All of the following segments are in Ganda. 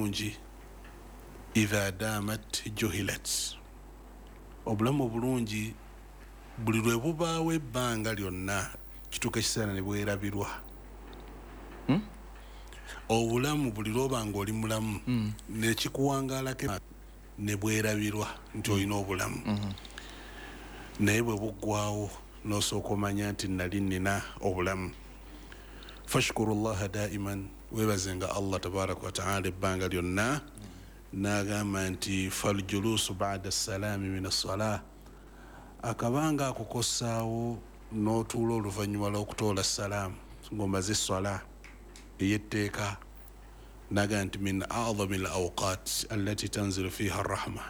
Obulungi idha damat juhilat, obulamu obulungi buli lwe bubaawo ebbanga lyonna kituuka ekiseera ne bwerabirwa. Obulamu buli lwoba nga oli mulamu nekikuwangaalako ne bwerabirwa nti olina obulamu, naye bwe buggwawo n'osooka omanya nti nali nina obulamu. Fashkuru llaha daiman, weebazenga Allah tabaraka wataala ebbanga lyonna. N'agamba nti faljuluusu bada salaami min assalah, akabanga ako kossaawo n'otuula oluvannyuma lw'okutoola salaamu ng'omaze esswala ey'etteeka. Naga nti min adami al awqat allati tanzilu fiha arrahma,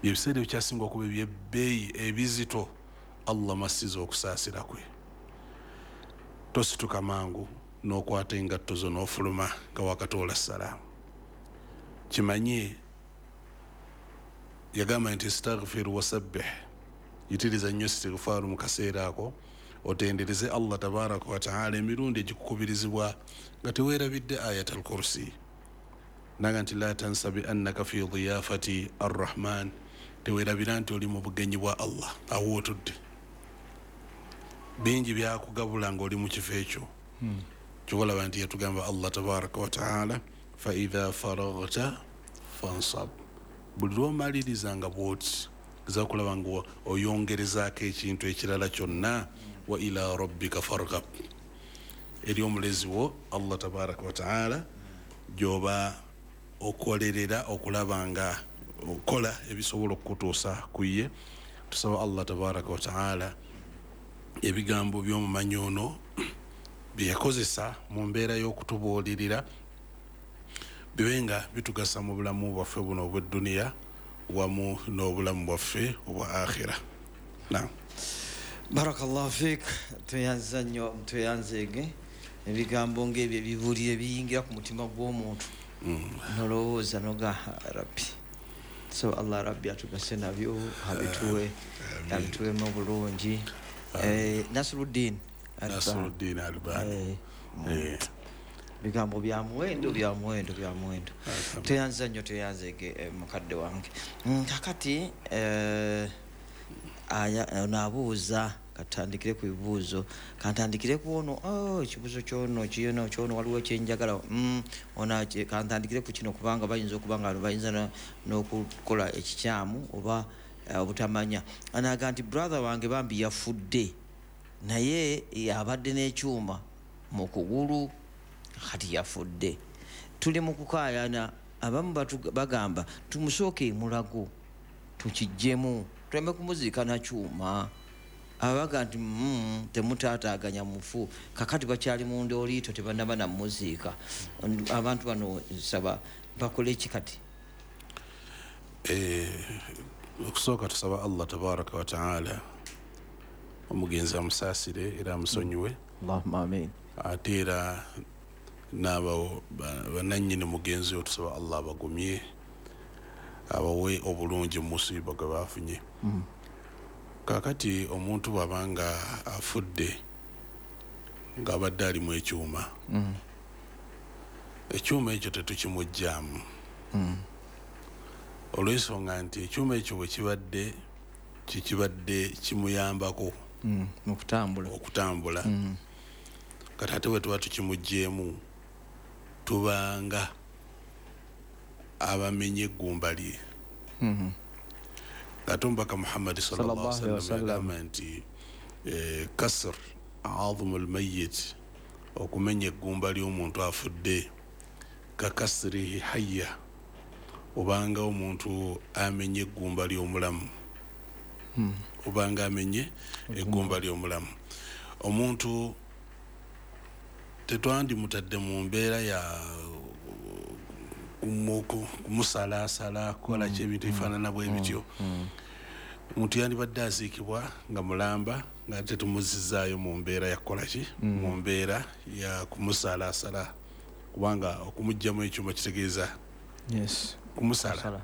byebiseera ebikyasinga okuba ebyebbeeyi ebizito Allah masiza okusaasira kwe. Tosituka mangu n'okwata engatto zo n'ofuluma nga wakatoola salaamu. Kimanye yagamba nti istaghfir wasabbih, yitiriza nnyo istighfaaru mu kaseera ako, otendereze Allah tabaraka wataala emirundi egikukubirizibwa nga teweerabidde ayat al kursi. Naga nti la tansa bi annaka fi diyafati arrahman, teweerabira nti oli mu bugenyi bwa Allah awo otudde, bingi byakugabula ngaoli mu kifo ekyo. Kyobalaba nti yatugamba Allah tabaraka wataala faidha faragta fansab, buli lwomaliriza nga bwoti za kulaba nga oyongerezaako ekintu ekirala kyonna, wa ila rabbika fargab, eri omulezi wo Allah tabaraka wataala gyoba okolerera okulaba nga okola ebisobola okukutuusa ku ye. Tusaba Allah tabaraka wataala ebigambo by'omumanyi ono byeyakozesa mu mbeera y'okutubuulirira bibe nga bitugasa mu bulamu bwaffe buno obw'edduniya wamu n'obulamu bwaffe obwa akhira. Naam. Barakallahu fik, tweyanza nnyo, tweyanzeege. Ebigambo ngaebyo ebibuulire biyingira ku mutima gw'omuntu nolowooza noga rabbi. So Allah rabbi atugase nabyo, abituwe abituwemu obulungi. Nasruddin Albani. Nasruddin Albani. Bigambo bya muwendo, bya muwendo, bya muwendo. Tweyanza nnyo, tweyanzeege, mukadde wange. Kakati aya ono abuuza, katandikire ku bibuuzo, kantandikire ku ono. Oh, ekibuuzo kyono kino kyono waliwo kyenjagala. Ono kantandikire ku kino kubanga bayinza okuba nga bayinza n'okukola ekikyamu oba obutamanya. Anaga nti brother wange bambi yafudde, naye abadde n'ekyuma mu kugulu, kati yafudde, tuli mu kukaayana. Abamu bagamba tumusooke emulago tukijjemu tuleme kumuziika na kyuma. Abaga nti temutaataaganya mufu, kakati bakyali mu ndooliito, tebannaba namuziika. Abantu bano nsaba bakole ki kati? Okusooka tusaba Allah tabaraka wataala omugenzi amusaasire era amusonyiwe. Allahumma amin. Ate era n'abo bannannyini mugenzi oyo tusaba Allah abagumye, abawe obulungi mu musiiba gwe bafunye. Kaakati omuntu bw'aba nga afudde ng'abadde alimu ekyuma, ekyuma ekyo tetukimuggyaamu, olw'ensonga nti ekyuma ekyo bwe kibadde kikibadde kimuyambako okutambula, okutambula. Kati ate bwe tuba tukimuggyeemu tubanga abamenye eggumba lye. Ate omubaka Muhammadi sallallahu alaihi wasallam yagamba nti kasr azumu lmayit, okumenya eggumba ly'omuntu afudde, kakasrihi hayya, obanga omuntu amenye eggumba ly'omulamu, obanga amenye eggumba ly'omulamu. Omuntu tetwandimutadde mu mbeera ya kumusalaasala kukola ki ebintu ebifaanana bwe bityo. Omuntu yandibadde aziikibwa nga mulamba nga tetumuzizaayo mu mbeera ya kukola ki, mu mbeera ya kumusalaasala, kubanga okumuggyamu ekyuma kitegeeza kumusala.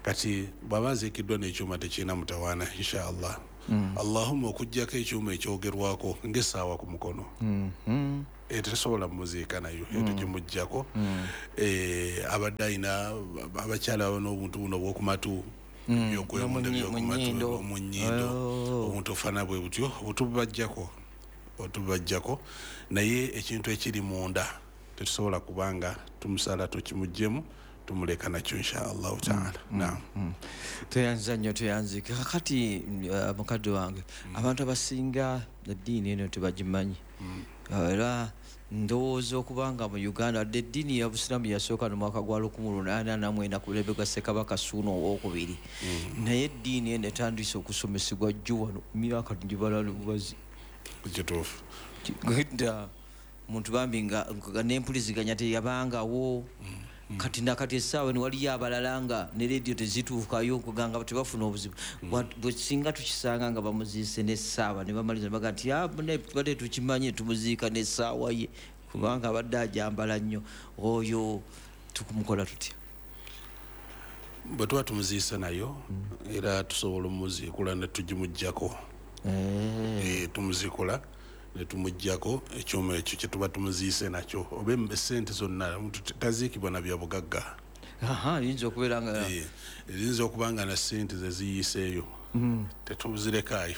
Kati bw'aba aziikiddwa n'ekyuma tekirina mutawaana insha Allah. Allahumma okuggyako ekyuma ekyogerwako ng'essaawa ku mukono. Tetusobola muziika nayo, tugimuggyako. Abadde alina abakyala baba n'obuntu buno obwokumatu, byokwewunda byokumatu, mu nnyindo, obuntu ofaanana bwe butyo, obutubajjako. Naye ekintu ekiri munda tetusobola kubanga tumusala tukimuggyemu, tumuleka nakyo insha Allahu taala. Naam. Tweyanza nnyo, tweyanzike. Kakati mukadde wange, abantu abasinga eddiini eno tebagimanyi. Era ndowooza okubanga mu Uganda wadde eddiini ya Busiraamu yasooka mu mwaka gwa 1849 ku mulembe gwa Ssekabaka Ssuuna Owookubiri, naye eddiini eno etandise okusomesebwa jjo wano myaka gibala lubazi. Kituufu. Dda muntu bambi nga n'empuliziganya teyabangawo. Kati nakati essaawa eno waliyo abalala nga ne leediyo tezituukayo, okuganga tebafuna obuzibu. Bwe singa tukisanga nga bamuziise n'essaawa ne bamaliza ne baga nti tubadde tukimanye tumuziika n'essaawa ye, kubanga abadde ajambala nnyo, oyo tukumukola tutya? Bwe tuba tumuziise nayo, era tusobola omuziikula ne tugimuggyako. Tumuziikula ne tumuggyako ekyuma ekyo kye tuba tumuziise nakyo, oba essente zonna. Omuntu taziikibwa na bya bugagga. Yinza okubeera nga Eyinza okuba nga na ssente ze ziyiiseeyo, tetuzirekaayo.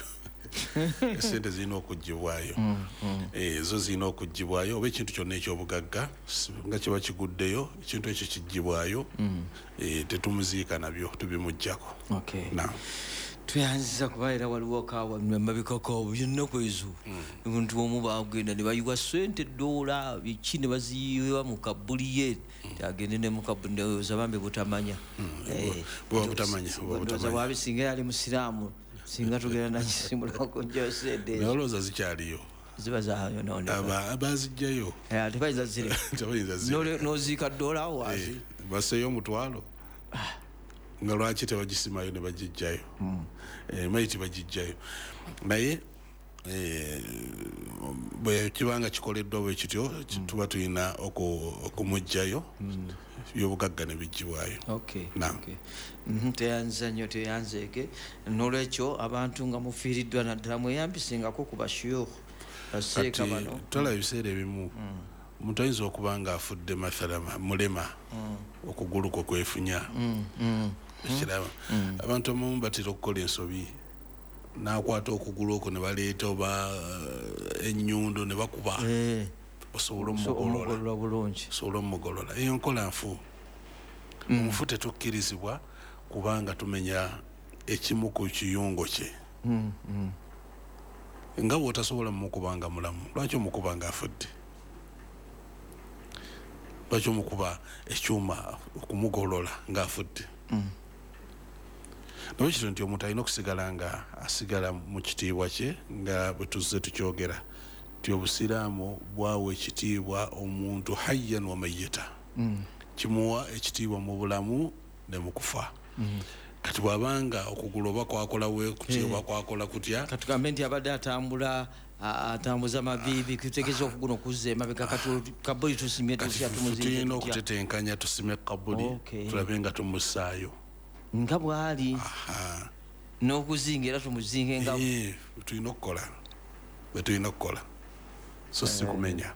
Essente zirina okuggyibwayo. Zo zirina okuggyibwayo, oba ekintu kyonna ekyobugagga nga kiba kiguddeyo, ekintu ekyo kiggyibwayo. Tetumuziika nabyo, tubimuggyako. Naam. Tweyanziza, kuba era waliwo kawa mabikako byonna ezo omuntu omu bagenda ne bayiwa sente dola biki ne baziyiwa mu kabuli ye, agende ne mu kabuli, ndowooza bambi butamanya. Buba butamanya, buba Ndowooza butamanya. Bwabi singa yali musiraamu, singa tugenda nakisimulako sente Naye olowooza zikyaliyo? Ziba zayonooneka. Bazijjayo. Tebayinza zireka. Tebayinza zireka. N'oziika dola awo wansi. Baseeyo 500, nga lwaki tebagisimayo ne bagijjayo? Mayiti bagijjayo, naye bwe kibanga kikoleddwa bwe kityo, tuba tulina okumuggyayo, byobugagga ne biggyibwayo. Naam. Okay. Teyanza nnyo, teyanzeeke. Nolwekyo abantu nga mufiiriddwa, naddala mweyambisengako ku bashuyukhu, baseeka Kati bano. Twalaba ebiseera ebimu omuntu ayinza okuba nga afudde, mathala mulema, okugulu kwe kwefunya. Ekiraba abantu abamu batera okukola ensobi, n'akwata okugulu okwo ne baleeta oba ennyundo ne bakuba osobola So, omugolola. Omugolola bulungi. Osobola omugolola. Eyo nkola nfu. Omufu tetukkirizibwa kubanga tumenya ekimu ku kiyungo kye. Nga bw'otasobola mumukuba nga mulamu, lwaki omukuba nga afudde? Lwaki omukuba ekyuma okumugolola ng'afudde? Naye kito nti omuntu alina okusigala nga asigala mu kitiibwa kye, nga bwe tuzze tukyogera nti obusiraamu bwawa ekitiibwa omuntu hayyan wa mayyita, kimuwa ekitiibwa mu bulamu ne mu kufa. Kati bw'abanga okugulu oba kwakola bwe kutya oba kwakola kutya, Katugambe nti abadde atambula, atambuza maviivi, kitegeeza okugulu okuzza emabega. Kati kabuli tusimye Kati tutya? Tumuziike tulina tutya? okutetenkanya, tusime kabuli, tulabe nga tumussaayo nga bw'ali n'okuzinga era tumuzinge nga Tulina okukola bwe tulina okukola, so si kumenya.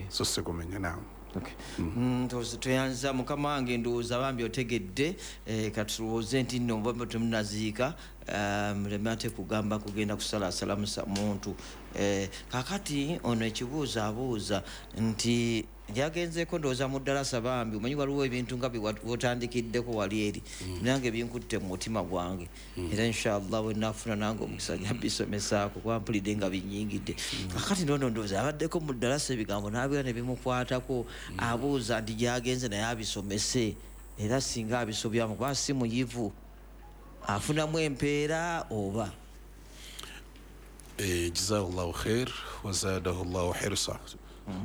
So si kumenya, naam. Okay. Ndowooza tweyanza mukama wange, ndowooza bambi otegedde. Katulowooze nti nno oba temunaziika, muleme ate kugamba kugenda kusalasala muntu. Kakati ono ekibuuzo abuuza nti yagenzeeko ndowooza mu ddalasa. Bambi omanyi waliwo ebintu nga byotandikiddeko wali eri, nange binkutte mu mutima gwange, era inshallah bwe naafuna nange omukisa nja bisomesaako, kuba mpulidde nga binyingidde. Kakati nono ndowooza abaddeko mu ddalasa, ebigambo n'abeera ne bimukwatako. Abuuza nti gyagenze naye abisomese, era singa abisobyamu, kuba si muyivu, afunamu empeera oba? Jazakallahu khair wazadahu llahu hirsa.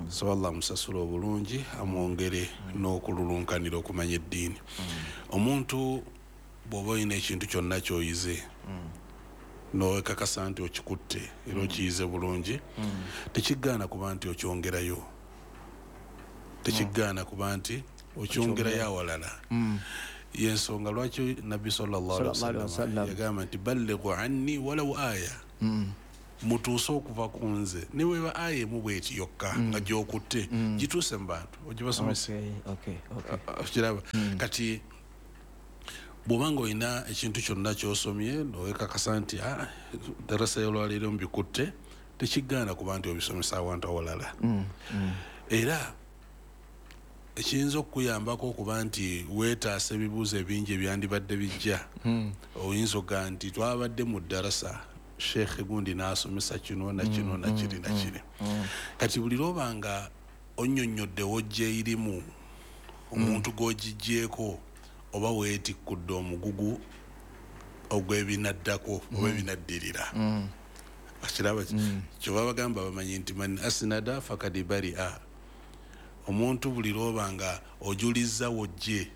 Saba Allah amusasule obulungi, amwongere n'okululunkanira okumanya eddiini. Omuntu bw'oba olina ekintu kyonna ky'oyize nowekakasa nti okikutte era okiyize bulungi, tekigaana kuba nti okyongerayo, tekigaana kuba nti okyongerayo awalala. Yensonga lwaki Nabbi sallallahu alaihi Sallallahu alaihi wasallam wasallam yagamba nti ballighu anni walau aya. Mutuuse okuva ku nze ne bweba aya emu bweti yokka nga gyokutte, gituuse mu bantu ogibasomese. Kiraba kati bw'oba nga olina ekintu kyonna ky'osomye nowekakasa nti darasa y'olwaleero mbikutte, tekigaana kuba nti obisomesa awantu awalala. Era ekiyinza okukuyambako okuba nti weetaasa ebibuuzo ebingi ebyandibadde bijja, oyinza okugaa nti twabadde mu ddarasa, sheekhe gundi n'asomesa kino na kino na kiri na kiri. Kati buli lwoba nga onnyonnyodde wojja erimu omuntu gw'ogiggyeko oba weetikkudde omugugu ogw'ebinaddako oba ebinaddirira. Kiraba kyova bagamba bamanyi nti man asnada fakad baria. Omuntu buli lwoba nga ojuliza wojje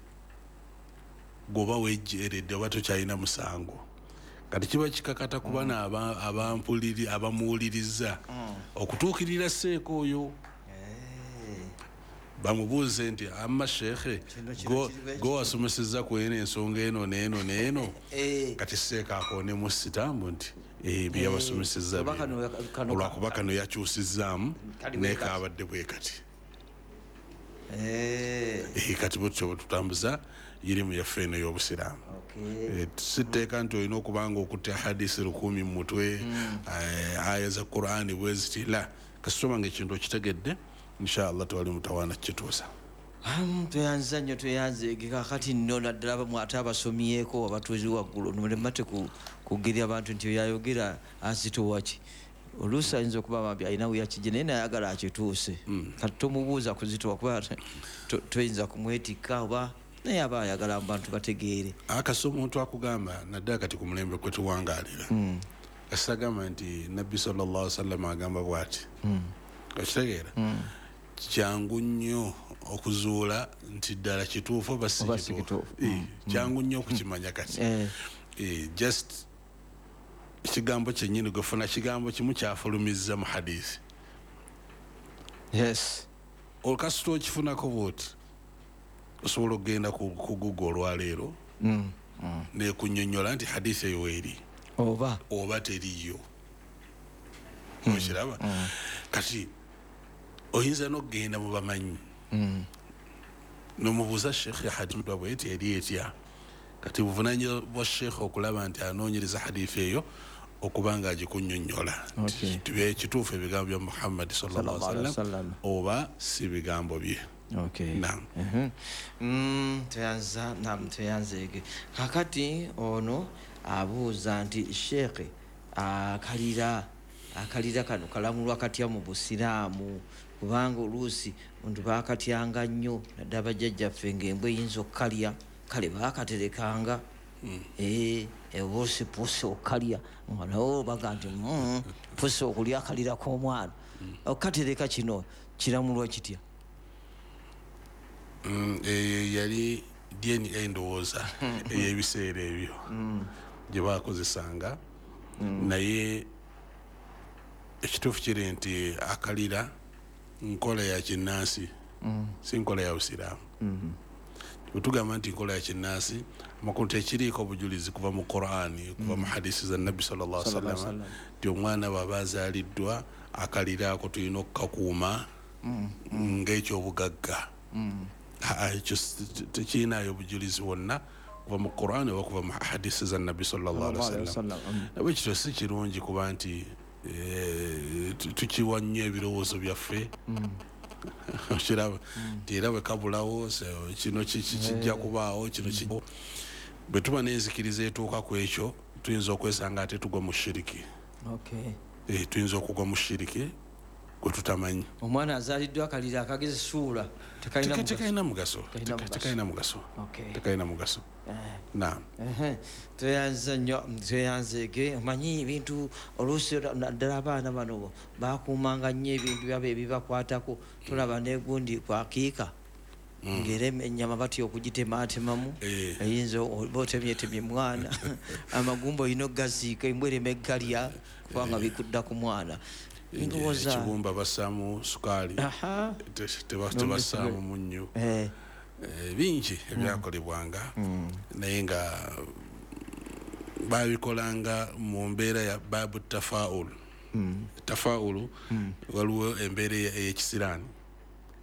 gwoba wejjeeredde oba tokyalina musango. Kati kiba kikakata ku bano abamuwuliriza okutuukirira seeka oyo bamubuuze nti amma sheekhe go wasomesezza ku eno ensonga eno n'eno n'eno. Kati seeka akoonemu sitambu nti bye yabasomesezza olwakuba kano yakyusizzaamu naye kaabadde bwe kati. Kati bwetutyo bwe tutambuza irimu yaffe eno ey'obusiraamu. Sitteeka nti olina okuba nga okutte hadisi 1000 mu mutwe, aya za Qur'ani bwe ziti, la kasitoma nga ekintu okitegedde inshallah tewali mutawaana kukituusa. Tweyanza nnyo, tweyanze. Kakati nno naddala abamu ate abasomyeko abatuuzi waggulu mulemate kugirya abantu nti oyo ayogera azitowa ki. Oluusi ayinza okuba bambi alina we yakijje naye nayagala akituuse. Kati tomubuuza kuzitowa kuba toyinza kumwetikka oba naye aba ayagala abantu bategeere. Akasa omuntu akugamba naddala kati ku mulembe kwe tuwangaalira, kasita agamba nti Nabbi sallallahu alaihi wasallam agamba bw'ati, okitegeera kyangu nnyo okuzuula nti ddala kituufu oba si kituufu. Kyangu nnyo okukimanya kati. Just ekigambo kyennyini gwefuna kigambo kimu kyafulumizza mu hadisi. Yes. Olukasita okifunako bw'oti osobola okugenda ku Google olwaleero nekunnyonnyola nti hadisi eyo weeri oba teriiyo. Okiraba? Kati oyinza n'okugenda mu bamanyi n'omubuuza sheekhe hadisi bweti eri etya. Kati buvunaanyizibwa bwa sheekhe okulaba nti anoonyereza hadithi eyo okuba nga agikunnyonnyola nti kituufu ebigambo bya Muhammad sallallahu alaihi wasallam oba si bigambo bye. Naam. Tweyanza, naam, tweyanzeege. Kakati ono abuuza nti sheekhe akalira kano kalamulwa katya mu busiraamu, kubanga oluusi omuntu baakatyanga nnyo naddala bajjajjaffe ng'embwa eyinza okukalya, kale baakaterekanga oluusi pusi okalya nga nawe baga nti pusi okulya akalira k'omwana. Okatereka kino kiramulwa kitya? Yali DNA ndowooza ey'ebiseera ebyo gye baakozesanga, naye ekituufu kiri nti akalira nkola ya kinnansi, si nkola ya busiraamu. Bwe tugamba nti nkola ya kinnansi, amakulu tekiriiko obujulizi kuva mu Qur'ani, kuva mu hadisi za Nabbi sallallahu alaihi wasallam nti omwana bw'aba azaaliddwa akalira ako tulina okukakuuma ng'ekyobugagga. Ekyo tekirinaayo obujulizi bwonna kuva mu Qur'ani oba kuva mu hadisi za Nabbi sallallahu alaihi wasallam. Nabwe kityo si kirungi kuba nti tukiwa nnyo ebirowoozo byaffe. Okiraba nti era bwe kabulawo kino kijja kubaawo, kino bwe tuba n'enzikiriza etuuka ku ekyo tuyinza okwesanga ate tugwa mu shiriki. Tuyinza okugwa mu shiriki gwe tutamanyi. Omwana azaaliddwa akalira akagezi suula tekalina mugaso, tekalina mugaso, tekalina mugaso. Naam. Tweyanza nnyo, tweyanzeege. Omanyi ebintu oluusi naddala abaana bano bakuumanga nnyo ebintu byabwe ebibakwatako. Tulaba n'egundi kwakiika ng'era ennyama batya okugitemaatemamu, eyinza oba otemyetemye mwana, amagumba olina okugaziika embwa ereme eggalya kubanga bikudda ku mwana. Ekibumba bassaamu sukaali, tebassaamu munnyo. Bingi ebyakolebwanga naye nga babikolanga mu mbeera ya babu tafaul. Tafaulu, waliwo embeera ey'ekisiraani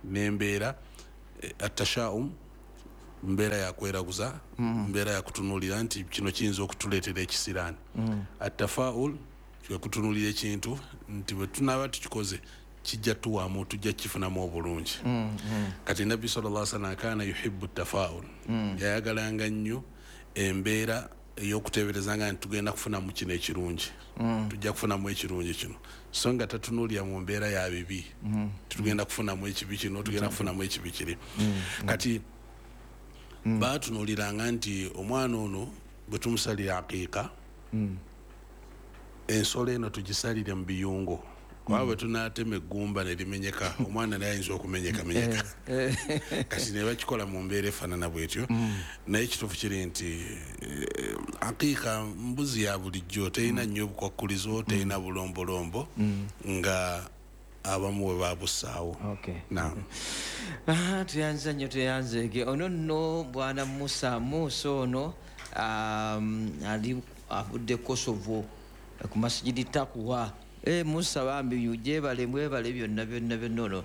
n'embeera atashaum, mbeera yakweraguza, mbeera yakutunuulira nti kino kiyinza okutuleetera ekisiraani. Atafaul kwekutunuulira ekintu nti bwe tunaaba tukikoze kijja tuwaamu, tujja kifunamu obulungi. Kati Nabbi sallallahu alaihi wasallam kaana yuhibbu tafaul, yayagalanga nnyo embeera ey'okuteeberezanga nti tugenda kufunamu kino ekirungi, tujja kufunamu ekirungi kino, so nga tatunuulira mu mbeera ya bibi, tugenda kufunamu ekibi kino, tugenda kufunamu ekibi kiri. Kati baatunuuliranga nti omwana ono bwe tumusalira aqiika, ensolo eno tugisalire mu biyungo, kuba bwe tunaatema eggumba ne limenyeka, omwana naye ayinza okumenyekamenyeka. Kati ne bakikola mu mbeera efaanana bwetyo. Naye ekituufu kiri nti aqiika mbuzi ya bulijjo, terina nnyo bukwakkulizo, terina bulombolombo nga abamu bwe babussaawo. Naam. Tuyanza nnyo, tuyanzeege. Ono nno bwana Musa, Musa ono ali avudde Kosovo ku Masjidi Takuwa. Musa bambi gyebale, mwebale byonna byonna byonna. Ono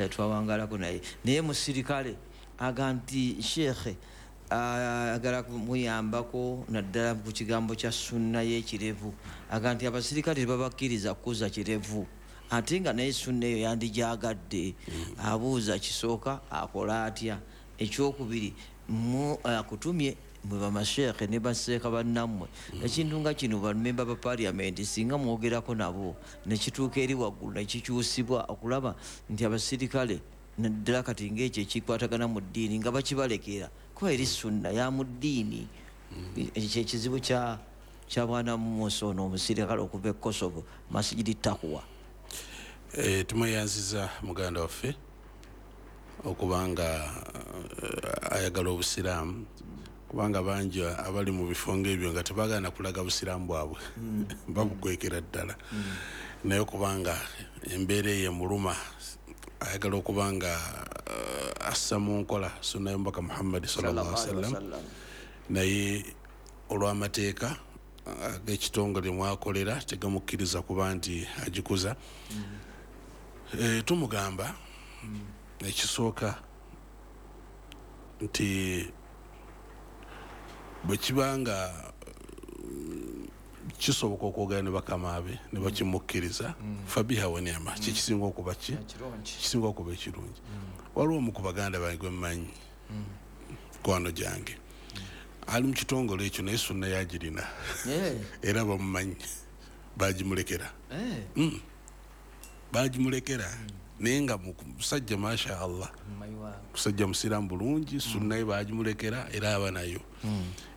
twawangalako naye, naye musirikale aga nti sheekhe agala kumuyambako naddala ku kigambo kya sunna y'ekirevu. Aga nti abasirikale tebabakkiriza kukuza kirevu, ate nga naye sunna eyo yandigyagadde. Abuuza kisooka akola atya? Ekyokubiri, akutumye mwe bamasheekhe ne baseeka bannammwe, ekintu nga kino bamemba ba parliament singa mwogerako nabo nekituuka eri waggulu nekikyusibwa okulaba nti abasirikale naddala kati ng'ekyo ekikwatagana mu ddiini nga bakibalekera, kuba eri sunna ya mu ddiini. Ekyo ekizibu kya bwana Musa ono omusirikale okuva e Kosovo, Masjidi Takuwa. Tumweyanziza muganda waffe okubanga ayagala obusiraamu, kubanga bangi abali mu bifo ng'ebyo nga tebagaana kulaga busiraamu bwabwe, babukwekera ddala. Naye okubanga embeera eyo emuluma, ayagala okubanga assa mu nkola sunna y'omubaka Muhammad sallallahu alaihi wasallam, naye olw'amateeka ag'ekitongole mwakolera tegamukkiriza kuba nti agikuza. Tumugamba ekisooka nti bwe kibanga kisoboka okwogera ne bakama be ne bakimukkiriza, fabiha wa ni'ma, kikisinga okuba ki kisinga okuba ekirungi. Waliwo omu ku baganda bange gwe mmanyi, kwano gyange, ali mu kitongole ekyo naye sunna yagirina, era bamumanyi, bagimulekera, bagimulekera. Naye nga musajja masha Allah, musajja musiraamu bulungi, sunna ye bagimulekera era aba nayo.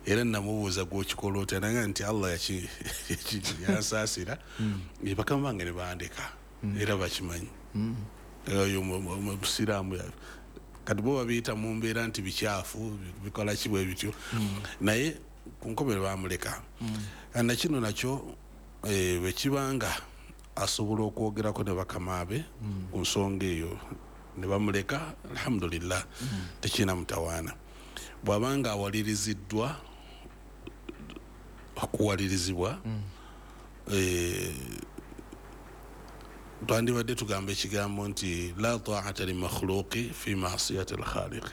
Era namubuuza gw'okikola otya, naga nti Allah yansaasira, bakama bange ne bandeka, era bakimanyi. Oyo musiraamu. Kati bo babiyita mu mbeera nti bikyafu, bikola ki bwe bityo, naye ku nkomerero bamuleka. Na kino nakyo bwe kibanga asobola okwogerako ne bakama be ku nsonga eyo ne bamuleka, alhamdulillah, tekirina mutawaana. Bw'abanga awaliriziddwa okuwalirizibwa, twandibadde tugamba ekigambo nti la ta'ata li makhluqi fi ma'siyati al-khaliq.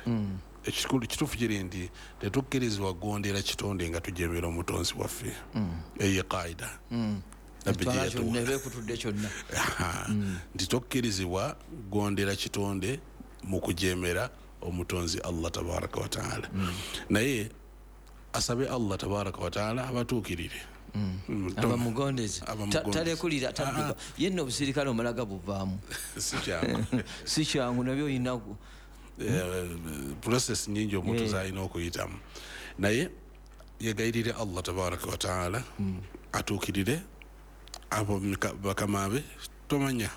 Ekikulu kituufu kiri nti tetukkirizibwa kugondera kitonde nga tujemera omutonzi waffe. Eyo qaida nti tokkirizibwa kugondera kitonde mu kujemera omutonzi Allah tabaraka wa taala. Naye asabe Allah tabaraka wa taala abatuukirire, abamugondeze, talekulira, tadduka. Yenna obusirikale omalaga buvaamu, si kyangu, nabyo olinaku process nyingi omuntu z'alina okuyitamu. Naye yegayirire Allah tabaraka wa taala atuukirire abo bakama be, tomanya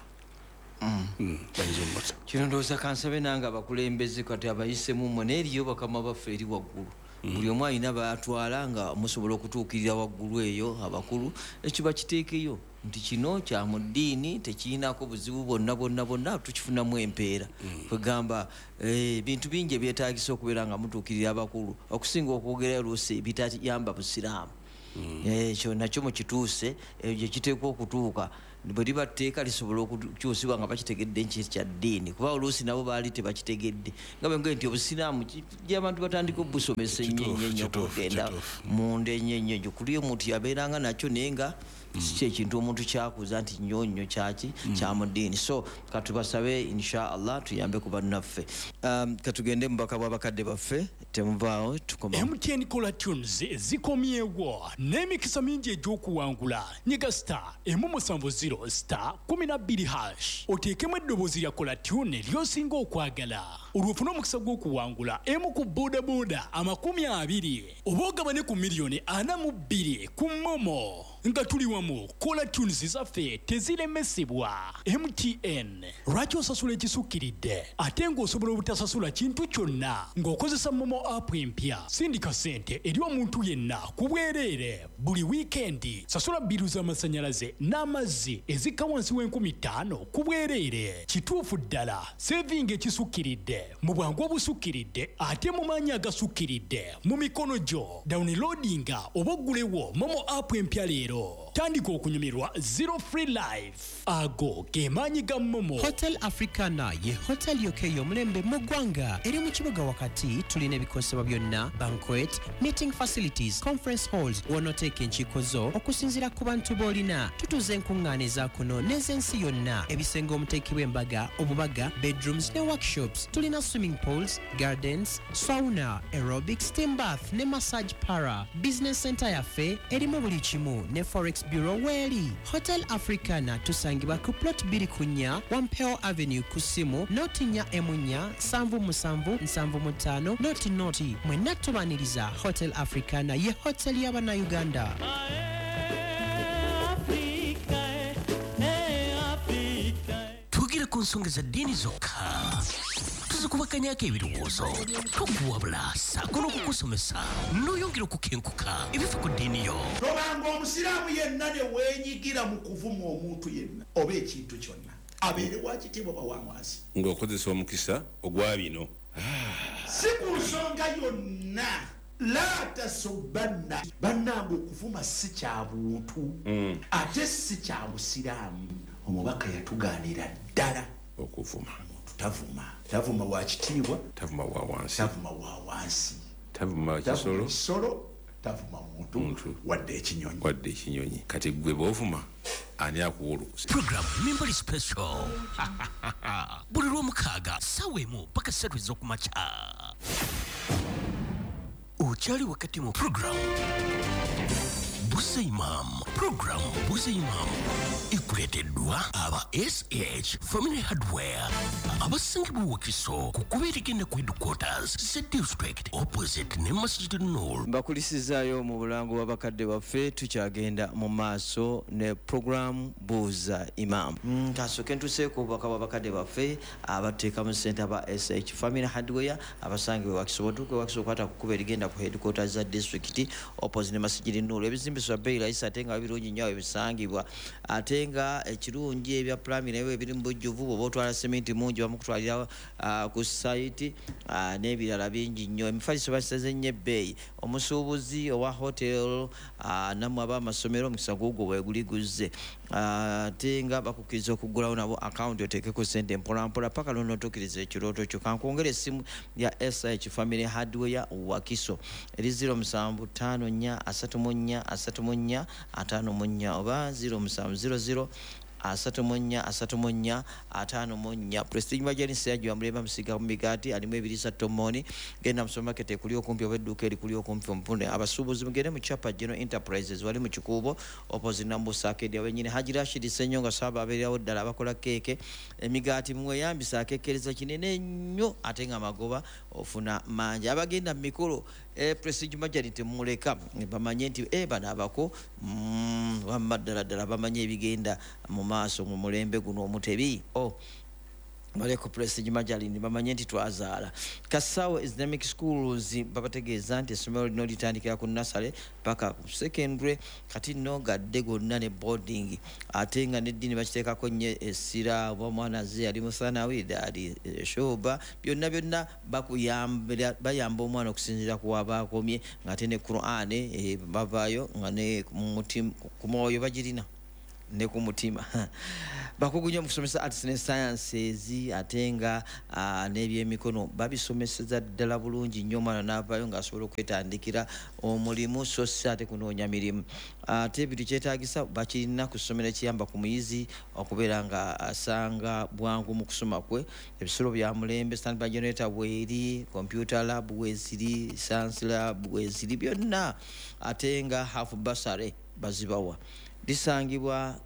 kino. Ndowooza kansabe nange abakulembeze kati abayisemu mmwe, naye eriyo bakama baffe eri waggulu, buli omu alina batwala nga musobola okutuukirira waggulu eyo abakulu, ekiba kiteekeyo nti kino kya mu ddiini, tekirinako buzibu bwonna bwonna bwonna, tukifunamu empeera. Kwegamba ebintu bingi ebyetaagisa okubeera nga mutuukirira abakulu okusinga okwogera oluusi ebitayamba busiraamu. Ekyo nakyo mukituuse, ekyo kiteekwa okutuuka. Bwe liba tteeka lisobola okukyusibwa nga bakitegedde nti kya ddiini, kuba oluusi nabo baali tebakitegedde, nga bwe nti obusiraamu abantu batandika obusomesa ennyo ennyo ennyo, okugenda munda ennyo ennyo ennyo. Kuli omuntu yabeeranga nakyo, naye nga si kyekintu omuntu kyakuza nti nnyo nnyo kyaki kya mu ddiini. So katubasabe, insha Allah, tuyambe ku bannaffe. Katugende mu bubaka bw'abakadde baffe, temuvaawo, tukoma. MTN Caller Tunes zikomyewo n'emikisa mingi egy'okuwangula. Nyiga *170*12# oteekemu eddoboozi lya caller tune ly'osinga okwagala, olwo ofune omukisa gw'okuwangula emu ku bodaboda 20 oba ogabane ku miliyoni 42 ku MoMo. Nga tuli wamu, caller tunes zaffe teziremesebwa. MTN, lwaki osasula ekisukkiridde ate ng'osobola obutasasula kintu kyonna ng'okozesa MoMo app empya? Sindika ssente eri omuntu yenna ku bwereere buli wiikendi. Sasula bill z'amasannyalaze n'amazzi ezikka wansi w'enkumitaano ku bwereere. Kituufu ddala, saving ekisukkiridde mu bwangu obusukkiridde ate mu maanyi agasukkiridde mu mikono gyo. Downloadinga oba oggulewo MoMo app empya leero, tandika okunyumirwa zero free life. Ago ge maanyi ga MoMo. Hotel Africana ye hotel yokka ey'omulembe mu ggwanga, eri mu kibuga wakati. Tulina ebikozesebwa byonna, banquet, meeting facilities, conference halls, w'onooteeka enkiiko zo okusinziira ku bantu b'olina. Tutuuza enkuŋŋaana eza kuno n'ez'ensi yonna, ebisenge omuteekebwa embaga, obubaga, bedrooms ne workshops. Tulina swimming pools, gardens, sauna, aerobic, steam bath ne massage parlour. Business center yaffe erimu buli kimu, ne forex bureau weeri. Hotel Africana tusangibwa ku plot 2 ku 4, Wampeo Avenue, ku ssimu 0 4 14 77 75 00. Mwenna tubaniriza. Hotel Africana ye hotel y'Abannayuganda. Twogera ku nsonga za ddiini zokka, tuzikubakanyako ebirowoozo, tukuwabula ssaako n'okukusomesa n'oyongera okukenkuka ebifa ku ddiini yo. Tobanga omusiraamu yenna ne weenyigira mu kuvuma omuntu yenna oba ekintu kyonna, abeere wakitiibwa oba wansi. Ng'okozesa omukisa ogwa bino. Si ku nsonga yonna. La tasubanna. Bannange, okuvuma si kya buntu ate si kya busiraamu. Omubaka yatugaanira ddala okuvuma. Omuntu tavuma, tavuma wa kitiibwa, tavuma wa wansi, tavuma wa wansi, tavuma tavuma kisolo, kisolo, tavuma muntu, Muntu. wadde ekinyonyi. Wadde ekinyonyi. Kati gwe bw'ovuma, ani akuwa olukusa? Program Mimbali Special buli lwomukaaga 1 paka 3 ez'okumakya. Okyali wakati mu program Buuza Imam. Program Buuza Imam ekuleeteddwa aba SH Family Hardware, abasangibwa Wakiso ku kkubo erigenda ku headquarters za district, opposite ne Masjid Nur. Mbakulisizaayo mu bulango bw'abakadde baffe. Tukyagenda mu maaso ne programu Buuza Imam. Kasooke ntuseeko obubaka bw'abakadde baffe abateekamu ssente, aba SH Family Hardware abasangibwa Wakiso. Otuuka Wakiso, okwata ku kkubo erigenda ku headquarters za district, opposite ne Masjid Nur. Ebizimbiswa bbeeyi layisi ate nga birungi nnyo awo ebisangibwa, ate nga ekirungi ebya plumbing naye ebiri mu bujjuvu. Bw'oba otwala seminti mungi, bamukutwalira ku site, n'ebirala bingi nnyo. Emifaliso basaze nnyo ebbeeyi. Omusuubuzi owa hotel, nammwe ab'amasomero, omukisa gugwo bweguli guzze. Ate nga bakukkiriza okuggulawo nabo akawunti oteekeko sente mpolampola paka lwonootuukiriza ekirooto kyo. Kankwongera essimu ya SH Family Hardware Wakiso eri 0754 34 34 54 oba 0700 34 34 54. Prestige Margarine seyajja mulemba musiga mu migaati, alimu ebiriisa tomoni. Genda mu supermarket ekuli okumpi oba edduuka erikuli okumpi omupune. Abasuubuzi mugende mu Chapa General Enterprises, wali mu Kikuubo, opposite Nambusa Arcade wenyini. Haji Rashid Senyonga Saba abeererawo ddala, abakola keeke, emigaati, mweyambisa akekkereza kinene nnyo ate nga magoba ofuna mangi. Abagenda mu mikolo, Prestige Margarine temuleka, bamanye nti bano abako, wamma ddala ddala bamanye ebigenda mu maaso mu mulembe guno omutebi. Oh, baleko Prestige Margarine bamanye nti twazaala. Kasawo Islamic Schools babategeeza nti essomero lino litandikira ku nursery paka ku secondary, kati nno gadde gonna ne boarding, ate nga neddiini bakiteekako nnyo essira. Oba omwana ze ali musanawi, ali shoba, byonna byonna bakuyambira, bayamba omwana okusinziira ku waba akomye, ng'ate ne Quran, bavaayo nga ne ku mwoyo bagirina. Ne ku mutima. Bakugu nnyo mu kusomesa arts ne sciences, ate nga n'ebyemikono babisomeseza ddala bulungi nnyo, omwana n'avaayo ng'asobola okwetandikira omulimu, so si ate kunoonya mirimu. Ate ebintu kyetaagisa bakirina ku ssomero ekiyamba ku muyizi okubeera nga asanga bwangu mu kusoma kwe. Ebisulo bya mulembe, standby generator bweri, computer lab weziri, science lab weziri, byonna, ate nga half bursary bazibawa. Lisangibwa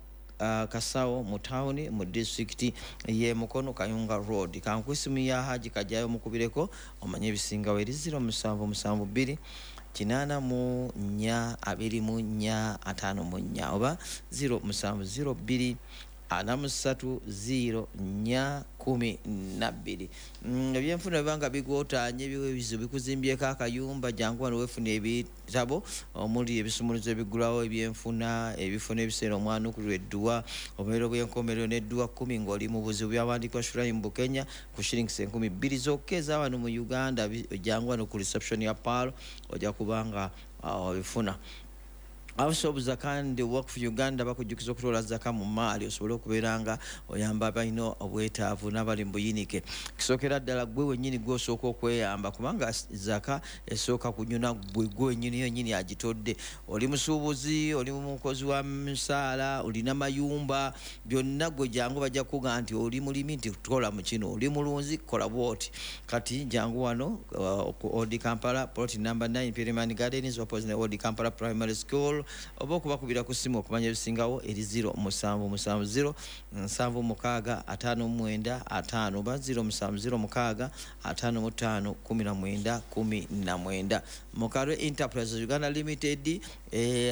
Kasawo mu tawuni mu disitulikiti ye Mukono, Kayunga Road. Kanku esimu ya Haji Kajayo, mukubireko omanye ebisingawo, eri 0772 84 24 54 oba 0702 43 04 12. Ebyenfuna bibanga bigotanye, ebizibu bikuzimbyeko akayumba, jangu wano wefuna ebitabo omuli ebisumuluzo ebigulawo ebyenfuna, ebifuna ebiseera omwanukulwa edduwa, obubonero bw'enkomerero n'edduwa 10 ng'oli mu buzibu, byawandiikibwa Shuraim Bukenya, ku shillings 2000 zokka ezawano mu Uganda. Jangu wano ku reception ya Pearl, ojja kubanga obifuna. House of Zaka and Waqf Uganda bakujjukiza okutoola zaka mu maali osobole okubeera nga oyamba abalina obwetaavu n'abali mu buyinike. Kisookera ddala gwe wennyini gw'osooka okweyamba, kubanga zaka esooka kunyuna gwe, gwe wennyini yennyini agitodde. Oli musuubuzi, oli mukozi wa musaala, olina mayumba, byonna gwe jangu bajja kukugamba nti oli mulimi nti kola mu kino, oli mulunzi kola bw'oti. Kati jangu wano ku Old Kampala, plot number 9, Pyramid Gardens, opposite Old Kampala Primary School, oba okubakubira ku ssimu okumanya ebisingawo eri 0770 76 59 5 oba 0706 55 19 19. Mukalwe Enterprises Uganda Limited,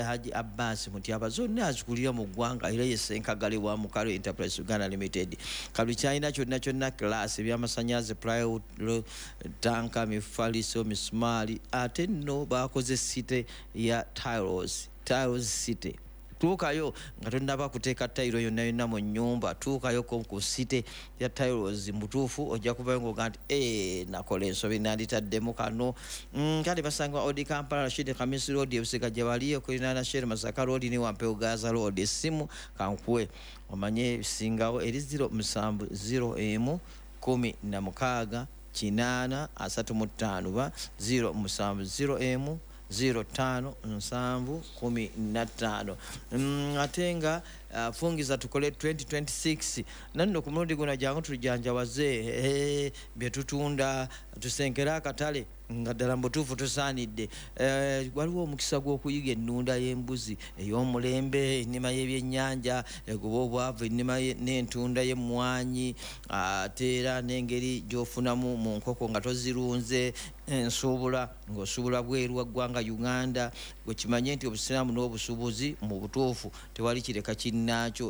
Haji Abbas Mutyaba zonna azikulira mu ggwanga, era ye ssenkagale wa Mukalwe Enterprises Uganda Limited. Kalwe kyalina kyonna kyonna class, ebyamasanyalaze, plywood, tanka, mifaliso, misumaali, ate nno bakoze city ya tiles, Tiles City. Tuukayo nga tonnaba kuteeka tayiro yonna yonna mu nnyumba, tuukayo ku city ya tiles mutuufu, ojja kuvayo ng'oga nti ee, nakola ensobi, nanditaddemu kano. Kale basangibwa Old Kampala, Rashid Khamis Road, ebusega gye bali okulinaana Shell, Masaka Road ne Wampewo Gaza Road. Essimu kankuwe omanye ebisingawo eri 0701 16 8 35 ba 0701 05 7 15. Ate nga fungiza tukole 2026 nanno ku mulundi guno, jangu tujanjawaze bye tutunda, tusenkere akatale nga ddala mubutuufu tusaanidde. Waliwo omukisa gw'okuyiga ennunda y'embuzi ey'omulembe, ennima y'ebyennyanja egoba obwavu, ennima n'entunda y'emmwanyi, ate era n'engeri gy'ofunamu mu nkoko nga tozirunze, ensuubula ng'osuubula bweru wa ggwanga Uganda. Gwe kimanye nti obusiraamu n'obusuubuzi mu butuufu tewali kireka kinnaakyo.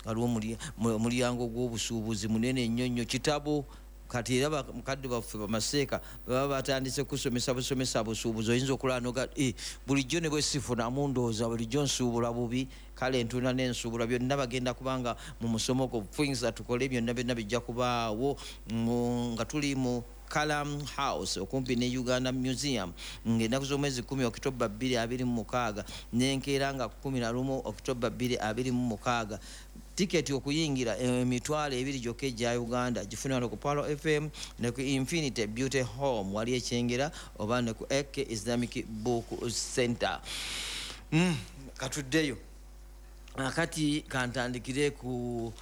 Waliwo omulyango gw'obusuubuzi munene nnyo nnyo, kitabo. Kati era mukadde baffe bamaseeka baba batandise kusomesa busomesa busuubuzi, oyinza okulaba noga bulijjo ne bwesifunamu ndowooza bulijjo nsuubula bubi. Kale entunda n'ensuubula byonna bagenda kubanga mu musomo gwo fungiza tukole, byonna byonna bijja kubaawo nga tuli mu Kalam House okumpi ne Uganda Museum, ng'ennaku z'omwezi 10 Okitoba 2026 n'enkeera nga 11 Okitoba 2026. Tiketi okuyingira 2000 gyokka egya Uganda. Gifune wano ku Pearl FM ne ku Infinity Beauty Home wali ekyengera oba ne ku Ek Islamic Book Center. Katuddeyo akati kantandikire ku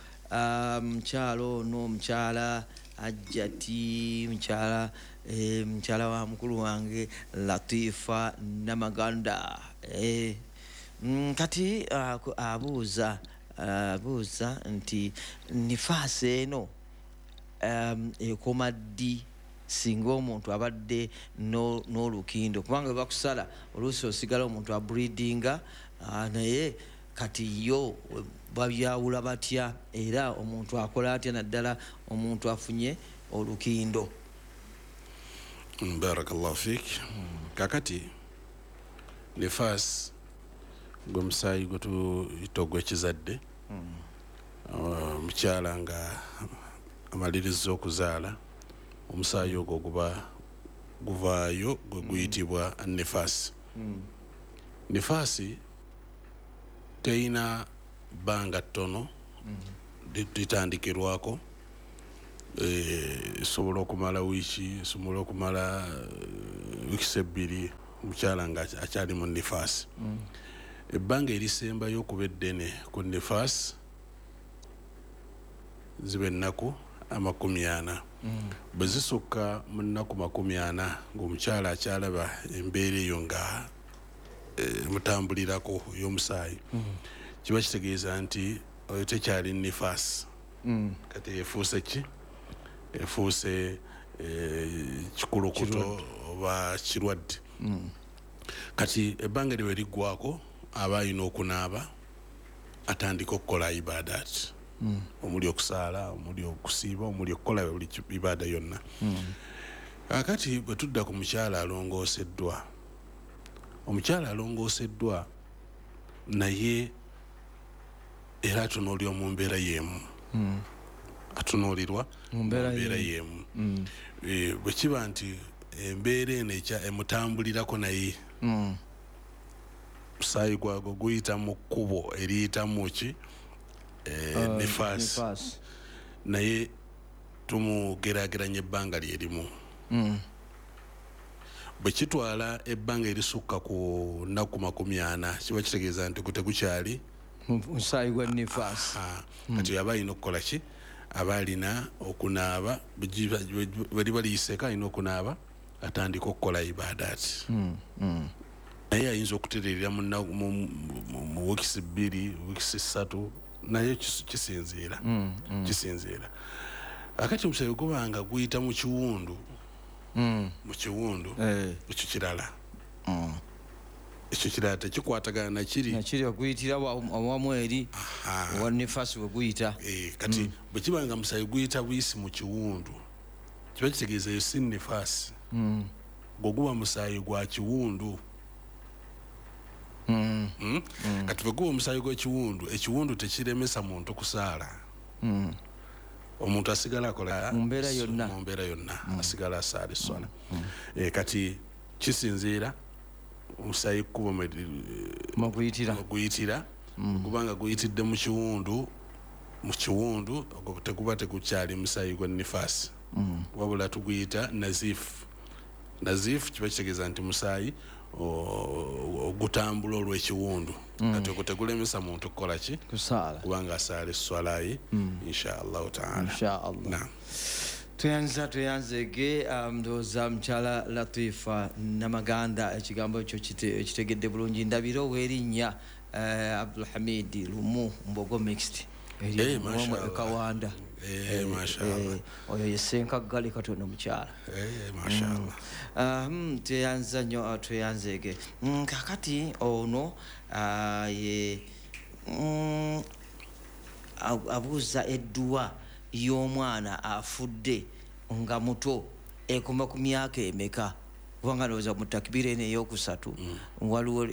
mukyalo ono, mukyala Ajjati, mukyala mukyala wa mukulu wange Latifa Namaganda. Kati abuuza nti nifaasi eno ekoma ddi singa omuntu abadde n'olukindo, kubanga bakusala oluusi osigala omuntu abreedinga, naye kati yo babyawula batya, era omuntu akola atya naddala omuntu afunye olukindo? Barakallahu fik. Kakati nifas gwe musaayi gwe tuyita ogw'ekizadde, omukyala nga amaliriza okuzaala, omusaayi ogwo guba guvaayo, gwe guyitibwa nifasi. Nifasi teyina Bbanga ttono litandikirwako, esobola okumala wiiki, esobola okumala wiikisi 2, omukyala nga akyali mu nifaasi. Ebbanga erisembayo okuba eddene ku nifaasi ziba ennaku 40. Bwe zisukka mu nnaku 40 ng'omukyala akyalaba embeera eyo nga emutambulirako ey'omusaayi, kiba kitegeeza nti oyo tekyali nifaasi. Kati efuuse ki? Efuuse kikulukuto oba kirwadde. Kati ebbanga lye liggwako, aba alina okunaaba, atandika okukola ibaadaati, omuli okusaala, omuli okusiiba, omuli okukola buli ibaada yonna. Kakati bwe tudda ku mukyala alongooseddwa, omukyala alongooseddwa naye era atunuulirwa mu mbeera y'emu, atunuulirwa mu mbeera y'emu. Bwe kiba nti embeera eno emutambulirako, naye musaayi gwago guyita mu kkubo eriyitamu ki? Nifaasi, naye tumugeraageranya ebbanga lyerimu. Bwe kitwala ebbanga erisukka ku nnaku 40, kiba kitegeeza nti tegukyali musaayi gwa nifaasi. Kati aba alina okukola ki? Aba alina okunaaba. Bwe liba liyiseeko, alina okunaaba, atandika okukola ibaadaati. Naye ayinza okutererera mu wiikisi 2, wiikisi 3, naye kisinziira. Akati omusaayi gubanga guyita mu kiwundu, mu kiwundu, ekyo kirala, ekyo kirala, tekikwatagana nakiri. Nakiri oguyitira awamu eri owa nifaasi we guyita. Kati bwe kiba nga musaayi guyita buyisi mu kiwundu, kiba kitegeeza eyo si nifaasi, gwe guba musaayi gwa kiwundu. Kati bwe guba omusaayi gw'ekiwundu, ekiwundu tekiremesa muntu kusaala. Omuntu asigala akola mu mbeera yonna. Mu mbeera yonna asigala asaala esswala. Kati kisinziira omusaayi kkubo mweguyitira, kubanga guyitidde mu kiwundu, mu kiwundu ogwo teguba tegukyali musaayi gwa nifaasi, wabula tuguyita nazifu. Nazifu kiba kitegeeza nti musaayi ogutambula olw'ekiwundu. Kati ogwo tegulemesa muntu kukola ki? Kusaala. Kubanga asaala esswalayi, insha Allahu taala. Insha Allah. Naam. Tweyanza, tweyanzege. Ndowooza mukyala Latifa Namaganda ekigambo ekyo ekitegedde bulungi. Ndabira ow'erinnya Abdulhamid Lumu Mbogo Mixed Eh, mashallah. Kawanda. Eh, mashallah. Oyo ye Ssenkaggale katono mukyala. Eh, mashallah. Tweyanza nnyo, tweyanzege. Kakati ono ye abuuza edduwa y'omwana afudde nga muto ekoma ku myaka emeka? Kubanga ndowooza mu takibira eno eyokusatu waliwo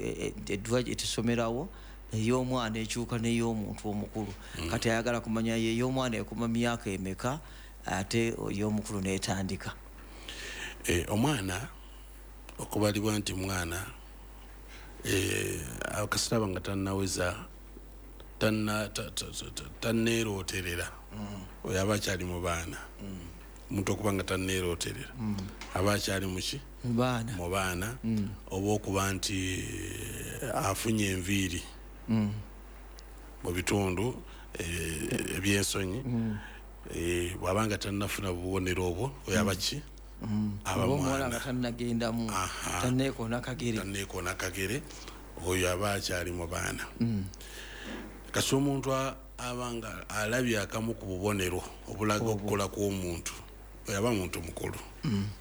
edduwa etusomerawo ey'omwana ekyuka n'ey'omuntu omukulu. Kati ayagala kumanya ye ey'omwana ekoma myaka emeka, ate ey'omukulu n'etandika. Omwana okubalibwa nti mwana, akasita aba nga tannaweza, tanneerooterera, oyo aba akyali mu baana. Omuntu okuba nga tanneerooterera aba akyali muki? Mu baana. Mu baana. Oba okuba nti afunye enviiri mu bitundu ebyensonyi, bw'aba nga tannafuna bubonero obwo, oyo aba ki? Aba Oba omuwala mwana. nga tannagendamu, tanneekoona kagere. Tanneekoona kagere, oyo aba akyali mu baana. Kasi omuntu aba nga alabye akamu ku bubonero obulaga okukula kw'omuntu, oyo aba muntu mukulu.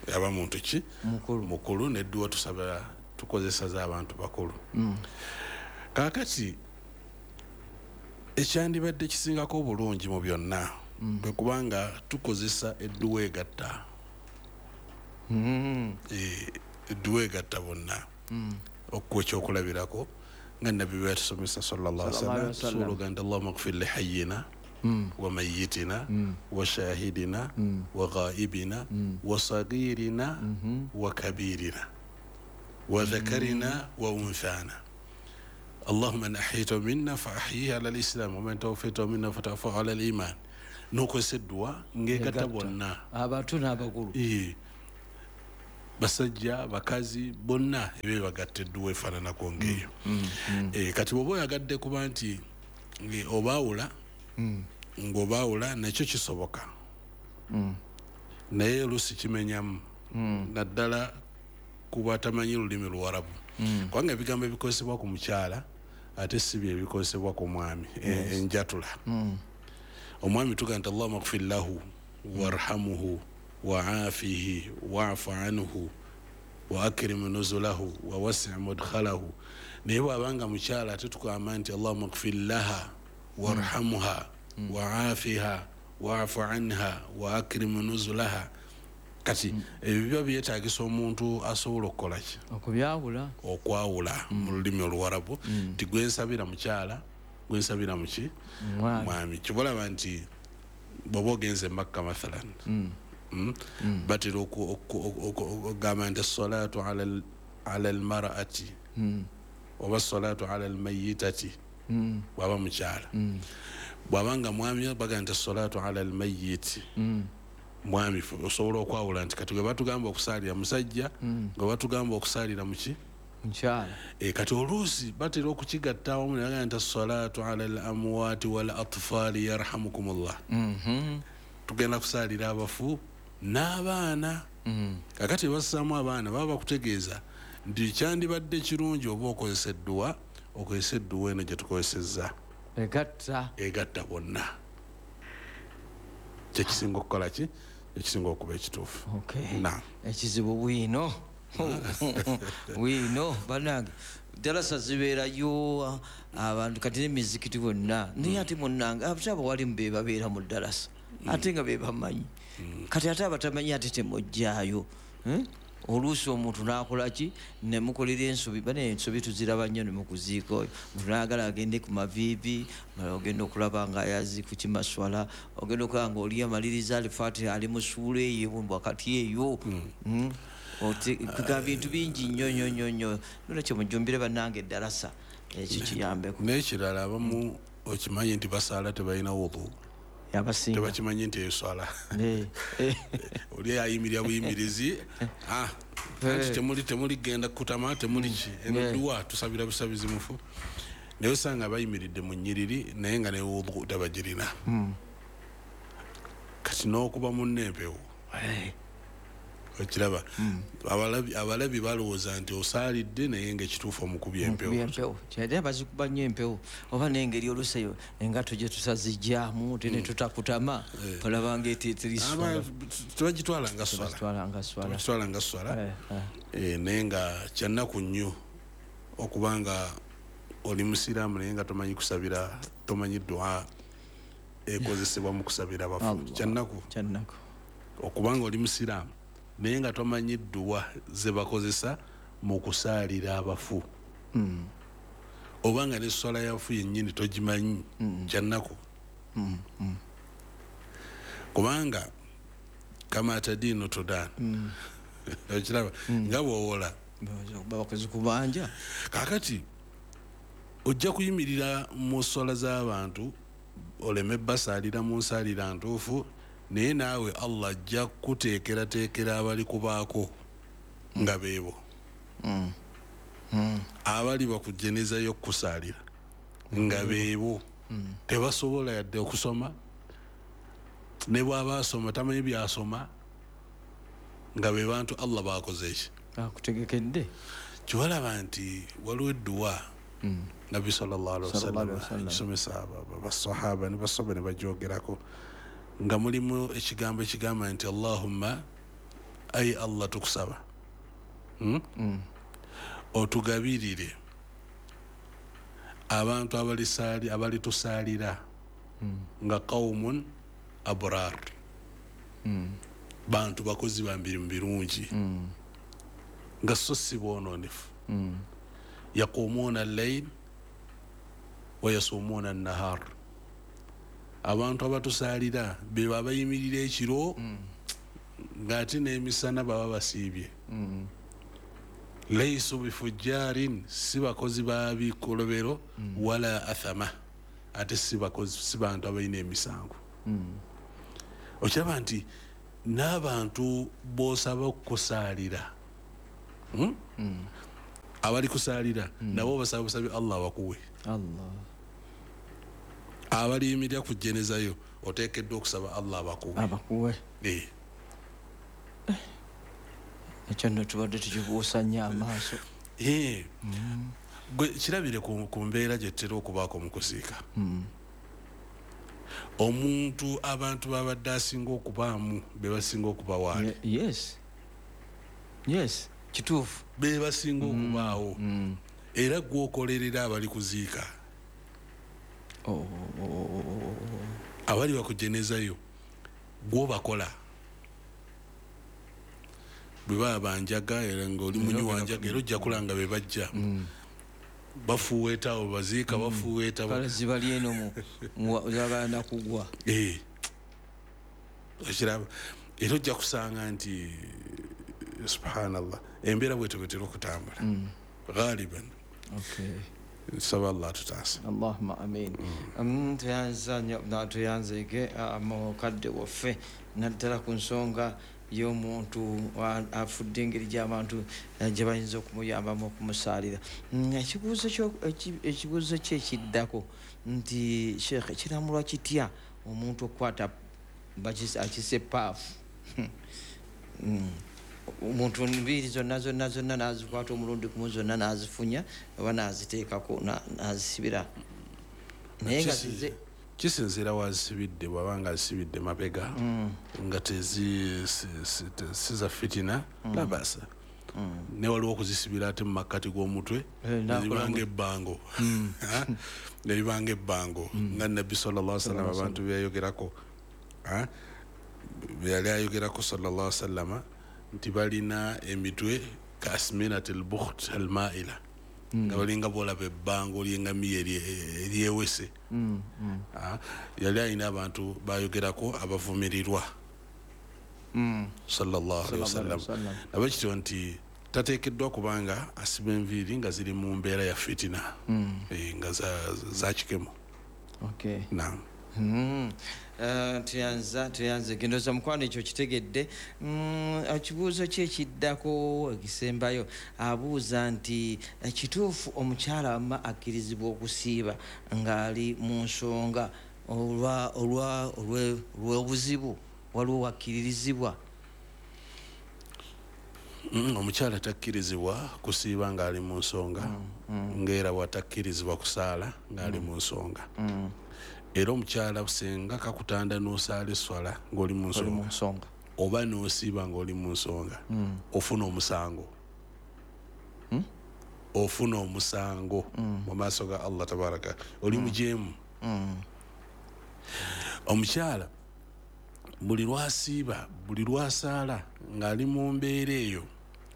Oyo aba muntu ki? Mukulu. Mukulu. Nedduwa tusaba tukozesa z'abantu bakulu. Kaakati ekyandibadde kisingako obulungi mu byonna bwe kubanga tukozesa edduwa egatta, edduwa egatta bonna. Okuwa ekyokulabirako nga Nabbi bwe yatusomesa sallallahu alaihi Sallallahu alaihi wasallam, wasallam. tusobola ogamba nti allahumma gfir li hayyina wa mayitina wa shahidina wa ghaibina wa sagirina wa kabirina wa dhakarina wa unthana. Allahumma man ahyaytahu minna fa ahyihi ala lislam waman tawaffaytahu minna fatawaffahu ala liman. N'okozesa edduwa ng'egatta bonna, abato n'abakulu, basajja, bakazi, bonna ebyo bagatta edduwa efaananako ng'eyo. Kati bw'oba oyagadde kuba nti obaawula, ng'obaawula nakyo kisoboka, naye oluusi kimenyamu, naddala kuba tamanyi lulimi Luwarabu, kubanga ebigambo ebikozesebwa ku mukyala ate si bye ebikozesebwa ku mwami. Enjatula omwami tugamba nti Allahumma ighfir lahu warhamuhu wa'afihi wa'fu anhu wa akrim nuzulahu wa wasi' mudkhalahu. Naye bw'abanga mukyala ate tugamba nti Allahumma ighfir laha warhamha wa'afiha wa'fu anha wa akrim nuzulaha. Kati ebyo biba byetaagisa omuntu asobola okukola ki? Okubyawula, okwawula mu lulimi Oluwarabu nti gwensabira mukyala, gwensabira muki? Mwami. Kibolaba nti bw'oba ogenze Makka mathalan, batera okugamba nti assalatu ala almar'ati oba assalatu ala almayitati bw'aba mukyala. Bw'abanga mwami bagamba nti assalatu ala almayiti. Mwami osobola okwawula nti kati gwe batugamba okusaalira musajja, gwe batugamba okusaalira muki? Mukyala. Kati oluusi batera okukigatta awamu ne bagamba nti assalatu ala al amwaati wal atfaali yarhamukumullah. Tugenda kusaalira abafu n'abaana. Kakati bassaamu abaana baba bakutegeeza nti kyandibadde kirungi oba okozesa edduwa, okozesa edduwa eno gye tukozesezza egatta bonna. Kyekisinga okukola ki? Ekisinga okuba ekituufu. Ekizibu bwino bwino bannange, ddalasa zibeerayo abantu kati n'emizikiti bonna, naye ate munnange ate abawalimu be babeera mu ddalasa ate nga be bamanyi. Kati ate abatamanyi ate temujjaayo. Oluusi omuntu n'akola ki? Ne mukolera ensobi, bane ensobi tuziraba nnyo ne mukuziika oyo. Omuntu n'ayagala agende ku maviivi, ogenda okulaba nga ayazi ku kimaswala, ogenda okulaba nga oli amaliriza Alifatiha ali mu ssuula eyo wakati eyo. Kuga bintu bingi nnyo nnyo nnyo nnyo. Nolwekyo mujjumbire bannange eddalasa, ekyo kiyambeko. N'ekirala abamu okimanyi nti basaala tebalina wudhu. Abasinga tebakimanyi nti eswala oli ayimirira buyimirizi, anti temuli genda kutama, temuli ki, eno dduwa tusabira busabizi mufu. Naye osanga bayimiridde mu nnyiriri naye nga ne wudhu tabagirina. Kati n'okuba munne empewo okiraba, abalabi balowooza nti osaalidde naye nga ekituufu omukubye empewo. Kyade bazikuba nnyo empewo, oba n'engeri oluusi engatto gye tusazijjaamu te ne tutakutama, olaba ng'eteeteriswala. Tebagitwala nga swala, nga swala. Naye nga kyannaku nnyo okuba nga oli musiraamu naye nga tomanyi kusabira, tomanyi dduwa ekozesebwa mu kusabira abafu. Kyannaku okuba nga oli musiraamu naye nga tomanyi dduwa ze bakozesa mu kusaalira abafu, oba nga n'esswala y'abafu yennyini togimanyi. Kyannaku, kubanga kama tadiinu tudan, okiraba nga bw'owola bakozi kubanja. Kaakati ojja kuyimirira mu sswala z'abantu oleme basaalira mu nsaalira ntuufu, naye naawe Allah ajja kuteekerateekera abali kubaako nga beebo abali bakujenezayo okukusaalira nga beebo tebasobola yadde okusoma, ne bw'aba asoma tamanyi byasoma, nga be bantu Allah bakoze eki akutegekedde. Kibalaba nti waliwo edduwa Nabbi sallallahu alaihi wasallam kisomesa basahaba ne basaba ne bajogerako, nga mulimu ekigambo ekigamba nti Allahumma, ayi Allah tukusaba otugabirire abantu abalitusaalira nga qawmun abrar, bantu bakozi ba mirimu birungi, nga so si boononefu, yaqumuuna al-layl wa yasumuuna an-nahar. Abantu abatusaalira be babayimirira ekiro ng'ate n'emisana baba basiibye. Laisu bifujarin, si bakozi ba bikolobero, wala athama, ate si bakozi, si bantu abalina emisango. Okiraba nti n'abantu b'osaba okukusaalira, abali kusaalira nabo basaba busabi Allah abakuwe. Abaliyimirira ku jjenezayo oteekeddwa okusaba Allah abakuwe. Abakuwe. Ekyo nno tubadde tukibuusa nnyo amaaso. Gwe kirabire ku mbeera gye tutera okubaako mu kuziika. Omuntu abantu babadde asinga okubaamu be basinga okubawaali. Yes. Yes, kituufu. Be basinga okubaawo. Era gw'okolerera abali kuziika. Abali bakujenezayo gw'obakola. Bwe baba banjaga era ng'oli munywi wa njaga era ojja kulanga be bajja. Bafuweeta awo baziika, bafuweeta. Kale zibali eno zagala kugwa. Okiraba era ojja kusanga nti subhanallah embeera bwetyo bwetera okutambula ghaliban. Nsaba Allah atutaase. Allahumma amin. Tuyanza nnyo tuyanzeege mukadde waffe naddala ku nsonga y'omuntu afudde engeri gy'abantu gye bayinza okumuyambamu okumusaalira. Ekibuuzo kye ekiddako nti Sheikh, kiramulwa kitya omuntu okukwata akise paafu? Omuntu nviiri zonna zonna zonna n'azikwata omulundi gumu zonna n'azifunya oba n'aziteekako n'azisibira, naye nga zize kisinziira wazisibidde. Bw'aba nga azisibidde mabega nga si za fitina, labasa. Ne waliwo okuzisibira ate mu makkati g'omutwe neribanga ebbango, neribanga ebbango nga Nabbi sallallahu alaihi wasallam abantu byeyayogerako, byeyali ayogerako sallallahu alaihi wasallam nti balina emitwe ka asminati al-bukht al-maila, nga balinga bolaba ebbango ly'engamiya eryewese. Yali alina abantu bayogerako abavumirirwa sallallahu alaihi wasallam. Nabwe kityo nti tateekeddwa kubanga asiba enviiri nga ziri mu mbeera ya fitina, nga za kikemo. Naam. Tuyanze gendoza mukwano ekyo kitegedde. Ekibuuzo kye ekiddako ekisembayo abuuza nti kituufu omukyala wamma akkirizibwa okusiiba ng'ali mu nsonga olw'obuzibu, waliwo wakkiririzibwa? Omukyala takkirizibwa kusiiba ng'ali mu nsonga, ng'era bw'atakkirizibwa kusaala ng'ali mu nsonga. Era omukyala senga kakutanda n'osaala esswala ng'oli mu nsonga oba n'osiiba ng'oli mu nsonga, ofuna omusango. Ofuna omusango mu maaso ga Allah tabaraka, oli mujeemu. Omukyala buli lwasiiba, buli lwasaala ng'ali mu mbeera eyo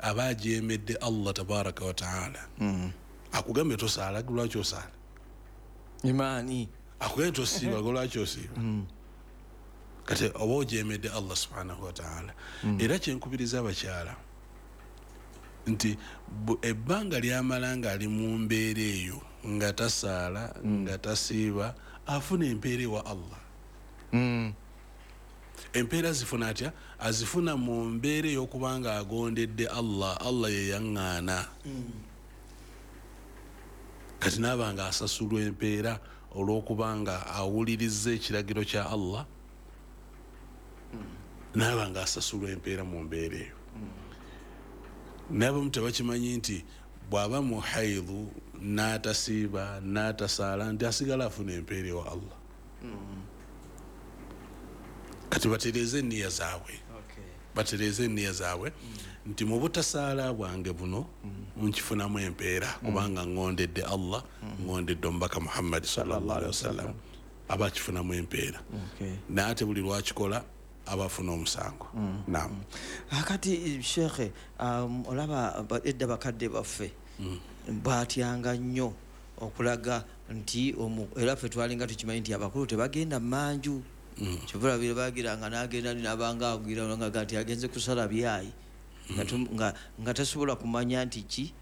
aba ajeemedde Allah tabaraka wa taala. Akugambye tosaala, lwaki osaala? Imaani akugambye tosiiba, lwaki osiiba? Kati oba ojeemedde Allah subhanahu wa taala. Era kyenkubiriza abakyala nti ebbanga lyamala ng'ali mu mbeera eyo nga tasaala, nga tasiiba, afuna empeera ewa Allah. Empeera zifuna atya? Azifuna mu mbeera ey'okuba nga agondedde Allah, Allah ye yaŋŋaana. Kati n'aba nga asasulwa empeera olw'okuba nga awuliriza ekiragiro kya Allah, n'aba nga asasulwa empeera mu mbeera eyo. N'abamu tebakimanyi nti bw'aba mu haidhu n'atasiiba n'atasaala nti asigala afuna empeera ewa Allah. Kati batereeze enniya zaabwe, batereeze enniya zaabwe nti mu butasaala bwange buno nkifunamu empeera kubanga ngondedde Allah, ngondedde omubaka Muhammad sallallahu alaihi wasallam, aba akifunamu empeera. Naye ate buli lwakikola aba afuna omusango. Naam. Akati Sheikh, olaba edda bakadde baffe batyanga nnyo okulaga nti era ffe twalinga tukimanyi nti abakulu tebagenda mmanju. Kyovulabire bagiranga n'agenda n'abanga agira nga nti agenze kusala byayi. Nga tasobola kumanya nti ki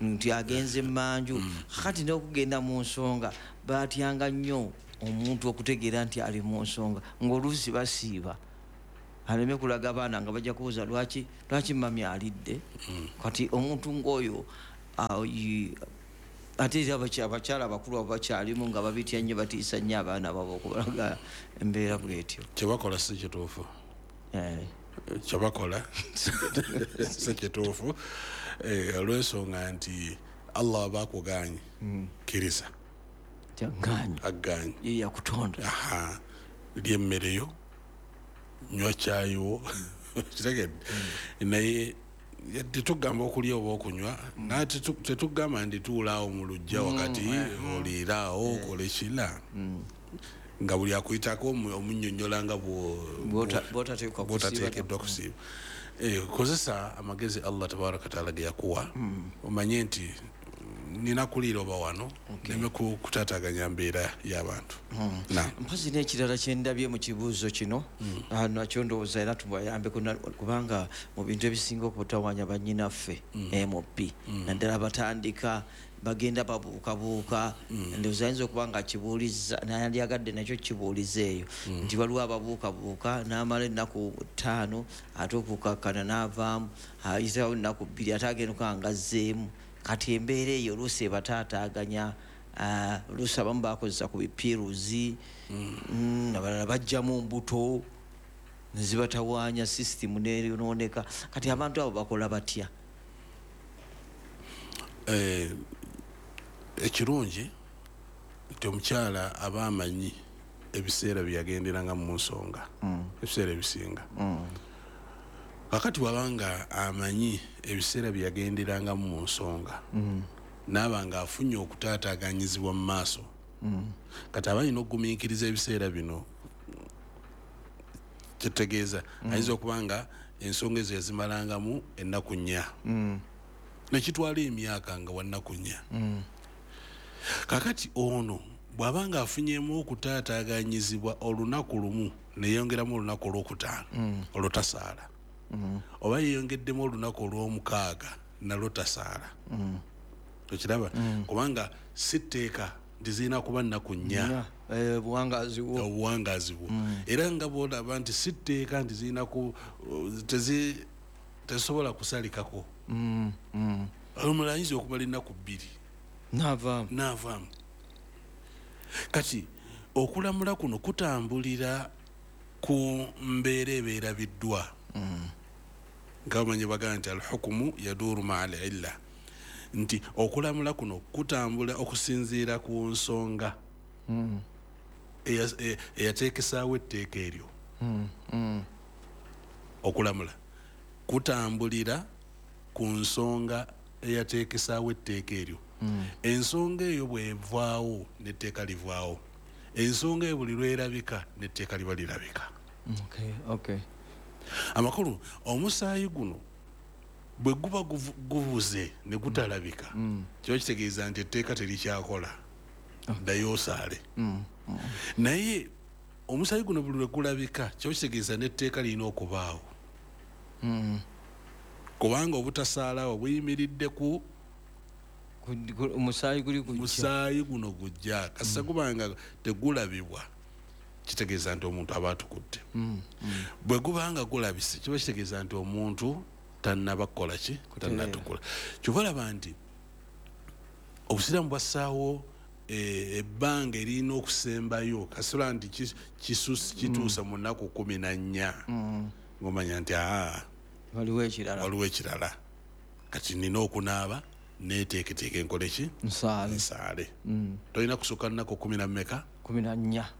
nti agenze manju. Kati n'okugenda mu nsonga batyanga nnyo omuntu okutegeera nti ali mu nsonga, ng'oluusi basiiba aleme kulaga abaana nga bajja kubuuza lwaki mami alidde. Kati omuntu ng'oyo ate era abakyala abakulu abo bakyalimu nga babitya nnyo, batiisa nnyo abaana baabwe okubalaga embeera bw'etyo. Kyebakola si kituufu. Kyebakola si kituufu, olw'ensonga nti Allah aba akuganye, kkiriza. Aganye. Ye yakutonda. Lya emmere yo, nywa caayi wo, kitegedde. Naye tetugamba okulya oba okunywa, naye tetugamba nti tuulaawo mu luggya wakati oliiraawo okole kila nga buli akuyitako omunnyonnyola nga bw'otateekeddwa kusiiba. Kozesa amagezi Allah tabaraka wataala ge yakuwa, omanye nti nina kuliira oba wano, neme kutaataaganya mbeera y'abantu. Mpozi n'ekirala kyendabye mu kibuuzo kino, nakyo ndowooza era tubayambeko, kubanga mu bintu ebisinga okutawaanya bannyinaffe MP, naddala batandika bagenda babuukabuuka, ndowooza ayinza okuba nga akibuuliza nandyagadde nakyo kibuuliza eyo nti waliwo ababuukabuuka n'amala ennaku 5 ate okukakkana n'avaamu, ayitawo ennaku 2 ate agenda okuba nga azzeemu. Kati embeera eyo oluusi ebataataaganya, oluusi abamu bakozesa ku bipiruzi, abalala bajjamu mbuto ne zibatawaanya, sisitimu neyonooneka. Kati abantu abo bakola batya? Ekirungi nti omukyala aba amanyi ebiseera bye yagenderanga mu nsonga, ebiseera ebisinga. Kakati bw'abanga amanyi ebiseera bye yagenderangamu mu nsonga, n'aba nga afunye okutaataaganyizibwa mu maaso, kati aba alina okugumiikiriza ebiseera bino. Kitegeeza ayinza okuba nga ensonga ezo yazimalangamu ennaku 4, nekitwala emyaka nga wa nnaku 4. Kakati ono bw'aba nga afunyemu okutaataaganyizibwa olunaku lumu neyongeramu olunaku olwokutaano, olwo tasaala. Oba yeyongeddemu olunaku olw'omukaaga, nalwo tasaala. Okiraba? Kubanga si tteeka nti zirina kuba nnaku 4. Obuwangaazi bwo. Era nga bw'olaba nti si tteeka nti zirina tezisobola kusalikako. Omulala ayinza okumala ennaku 2 n'avaamu. Kati okulamula kuno kutambulira ku mbeera ebeerabiddwa. Nga bamanyi bagamba nti alhukumu yaduuru maa al illa, nti okulamula kuno kutambula okusinziira ku nsonga eyateekesaawo etteeka eryo. Okulamula kutambulira ku nsonga eyateekesaawo etteeka eryo. Ensonga eyo bw'evaawo n'etteeka livaawo, ensonga eyo buli lwerabika n'etteeka liba lirabika. Amakulu, omusaayi guno bwe guba gubuze ne gutalabika, kiba kitegeeza nti etteeka terikyakola, ddayo osaale. Naye omusaayi guno buli lwe gulabika, kiba kitegeeza n'etteeka lirina okubaawo, kubanga obutasaalawo buyimiridde ku musaayi guno gujja. Kasita gubanga tegulabibwa, kitegeeza nti omuntu aba atukudde. Bwe gubanga gulabise, kiba kitegeeza nti omuntu tannaba kukola ki, tannatukula. Kyova olaba nti obusiraamu bwassaawo ebbanga eririna okusembayo, kasita nti kituusa mu nnaku 14, ng'omanya nti waliwo ekirala, kati nina okunaaba neeteeketeeke enkole ki, nsaale. Tolina kusukka nnaku 14.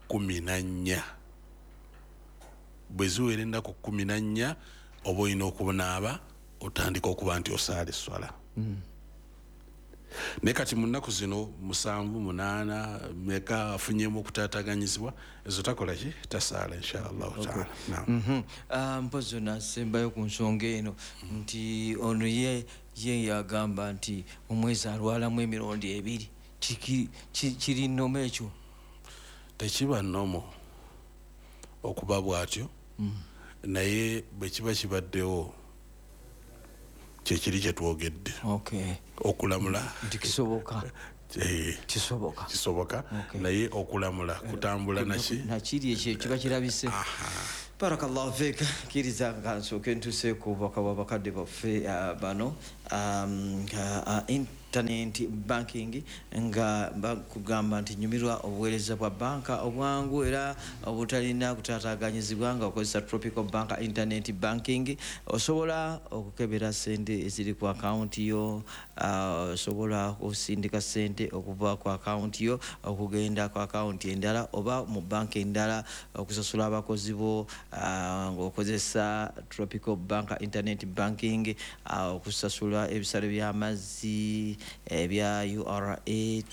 14. Bwe ziwera ennaku 14, oba olina okunaaba otandika okuba nti osaala esswala. Naye kati mu nnaku zino 7, 8 meka afunyemu okutaataaganyizibwa, ezo takola ki, tasaala insha Allahu taala. Mpozi nasembayo ku nsonga eno nti ono ye yagamba nti omwezi alwalamu emirundi 2, kiri normal ekyo? Tekiba normal okuba bw'atyo, naye bwe kiba kibaddewo Kyekiri kyetwogedde okulamula nti kisoboka. Kisoboka, kisoboka, naye okulamula kutambula naki nakiri ekyo kiba kirabise. Barakallahu fik. Kkiriza nga nsooke ntuuse ku bubaka bw'abakadde baffe bano. Internet banking, nga bakugamba nti nyumirwa obuweereza bwa banka obwangu era obutalina kutaataaganyizibwa nga okozesa Tropical Bank internet banking. Osobola okukebera sente eziri ku akawunti yo, osobola okusindika sente okuva ku akawunti yo okugenda ku akawunti endala oba mu banka endala, okusasula abakozi bo ng'okozesa Tropical Bank internet banking, okusasula ebisale by'amazzi, ebya URA,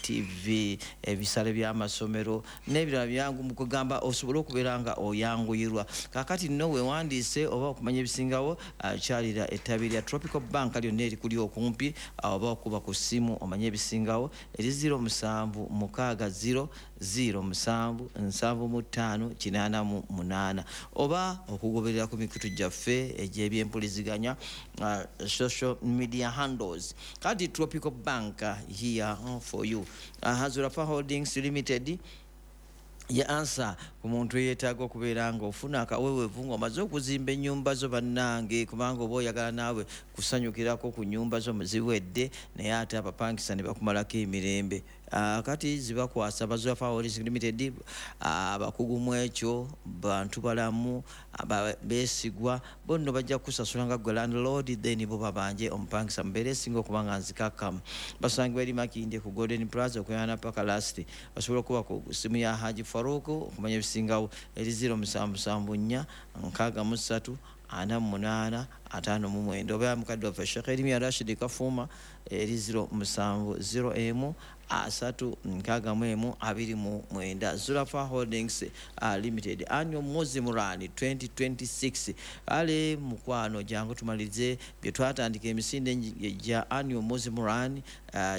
TV, ebisale by'amasomero n'ebirala byangu, mu kugamba osobole okubeera nga oyanguyirwa. Kakati nno weewandiise oba okumanya ebisingawo, kyalira ettabi lya Tropical Bank lyonna erikuli okumpi, oba okuba ku ssimu omanye ebisingawo eri 0760 07 75 88, oba okugoberera ku mikutu gyaffe egy'ebyempuliziganya, social media handles. Kati Tropical Bank, here for you. Hazurafa Holdings Limited ye ansa ku muntu eyeetaaga okubeera nga ofuna akaweweevu ng'omaze okuzimba ennyumba zo, bannange, kubanga oba oyagala naawe kusanyukirako ku nnyumba zo ziwedde, naye ate abapangisa ne bakumalako emirembe. Kati zibakwasa Bazurafa Holdings Limited, abakugu mu ekyo, bantu balamu beesigwa. Bo nno bajja kukusasula nga gwe landlord, then bo babanje omupangisa mubeera esinga okuba nga nzikakkamu. Basangibwa eri Makindye ku Golden Plaza okuyana paka last. Osobola okuba ku simu ya Haji Faruku okumanya ebisingawo eri 0774 63 48 59, oba mukadde waffe Sheikh Erimiya Rashid Kafuuma eri 07 01 3 61 29. Zurafa Holdings Limited, Annual Muslim Run 2026. Ale mukwano, jangu tumalirize bye twatandika. Emisinde gya Annual Muslim Run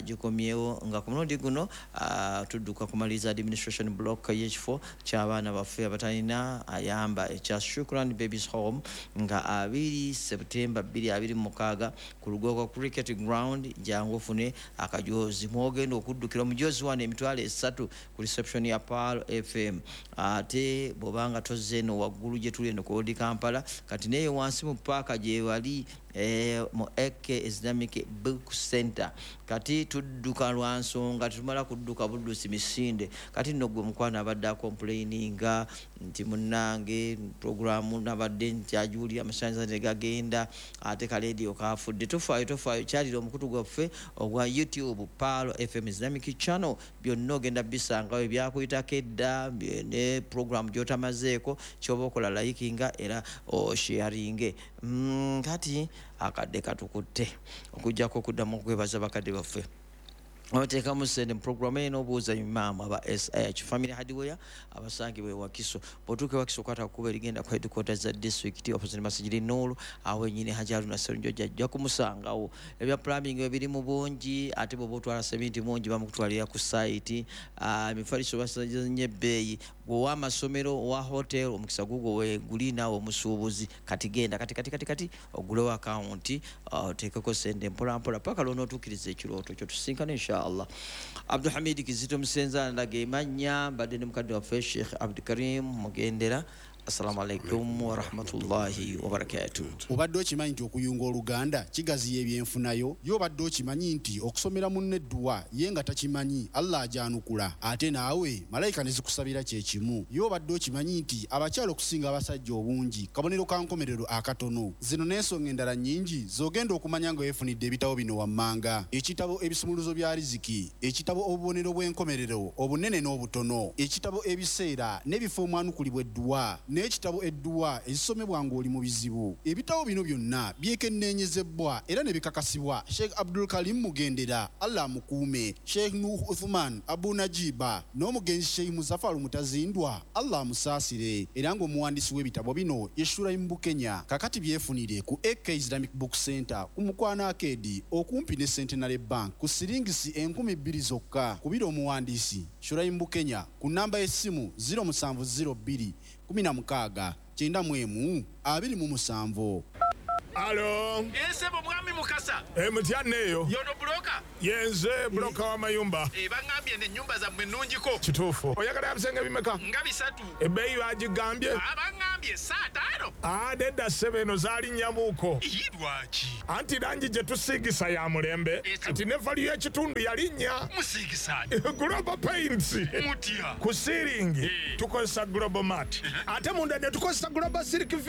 gikomyewo nga ku mulundi guno tudduka kumaliriza administration block y'ekifo ky'abaana baffe abatalina ayamba ekya Shukran Babies Home, nga 2 September 2026 ku Lugogo Cricket Ground. Jangu ofune akajozi mwogenda okuddukira omujozi wano 30,000 ku reception ya Pearl FM. Ate bw'obanga tozze eno waggulu gye tuli eno ku Old Kampala, kati neyo wansi mu paaka gye wali mu AK Islamic Book Center. Kati tudduka lwa nsonga, tetumala kudduka buddusi misinde. Kati nno gwe mukwano abadde acomplaininga nti munnange programu nabadde nkyagiwulira amasannyalaze ne gagenda, ate kaleediyo kafudde, tofaayo, tofaayo, kyalira omukutu gwaffe ogwa YouTube, Pearl FM Islamic Channel. Byonna ogenda bisangawo ebyakuyitako edda ne programu gy'otamazeeko. Kyoba okola, likinga era osharinge. Kati akadde katukutte okugjako okuddamu okwebaza bakadde baffe oteekamu sente mu programu eno. Obuuza imaamu aba SH Family Hardware abasangibwa ewakiso. Bw'otuuka ewakiso, okwata kukuba erigenda ku headquarters za district opposite Masijidi Nuru, awo wenyini Haji Haruna Serunjoja ajja kumusangawo. Ebya plumbing ebiri mu bungi, ate bw'oba otwala seminti mungi bamukutwalira ku site. Emifaliso basanye ebbeeyi. Gwe amasomero, owa hotel, omukisa gugwo weguli naawe omusuubuzi. Kati genda kati kati kati kati ogulewo akawunti, oteekeko sente mpolampola paka lwonootuukiriza ekirooto kyo. Tusinkane inshallah. Abdulhamid Kizito Musenza ndaga emanya, mbadde ne mukadde waffe Sheikh Abdukarim Mugendera. Assalamu alaikum warahmatullahi wabarakatuh. Obadde okimanyi nti okuyunga oluganda kigaziya ebyenfunayo? Ye obadde okimanyi nti okusomera munno edduwa ye nga takimanyi, Allah agyanukula, ate naawe malayika ne zikusabira kye kimu? Ye obadde okimanyi nti abakyala okusinga abasajja obungi kabonero ka nkomerero akatono? Zino n'ensonga endala nnyingi z'ogenda okumanya nga weefunidde ebitabo bino wammanga: ekitabo Ebisumuluzo bya Riziki, ekitabo Obubonero bw'enkomerero obunene n'obutono, ekitabo Ebiseera n'ebifo omwanukulibwa edduwa, n'ekitabo Edduwa ezisomebwa ng'oli mu bizibu. Ebitabo bino byonna byekenneenyezebbwa era ne bikakasibwa Sheikh Abdul Karim Mugendera, Allah amukuume, Sheikh Nuh Uthman Abu Najiba n'omugenzi Sheikh Muzafaru Mutazindwa, Allah amusaasire, era ng'omuwandiisi w'ebitabo bino ye Shuraim Bukenya. Kakati byefunire ku AK Islamic Book Center ku Mukwano Arcade okumpi ne Centenary Bank ku siringisi 2000 zokka. Kubira omuwandiisi Shuraim Bukenya ku namba y'essimu 0702 16 91 27. Alo. Esebo mwami Mukasa. Mutya neeyo? Yono buloka. Yenze buloka w'amayumba. Baŋŋambye n'ennyumba zammwe nnungiko. Kituufu. Oyagala bisenge bimeka? Nga 3. Ebbeeyi bagigambye? Baŋŋambye 5. Nedda ssebo, eno zaalinnyamuuko. Lwaki? Anti langi gye tusiigisa ya mulembe. Kati ne value y'ekitundu yalinnya. Musiigisa Global Paints. Mutya? Ku siiringi tukozesa Global Mat, ate munda ne tukozesa Global Silk.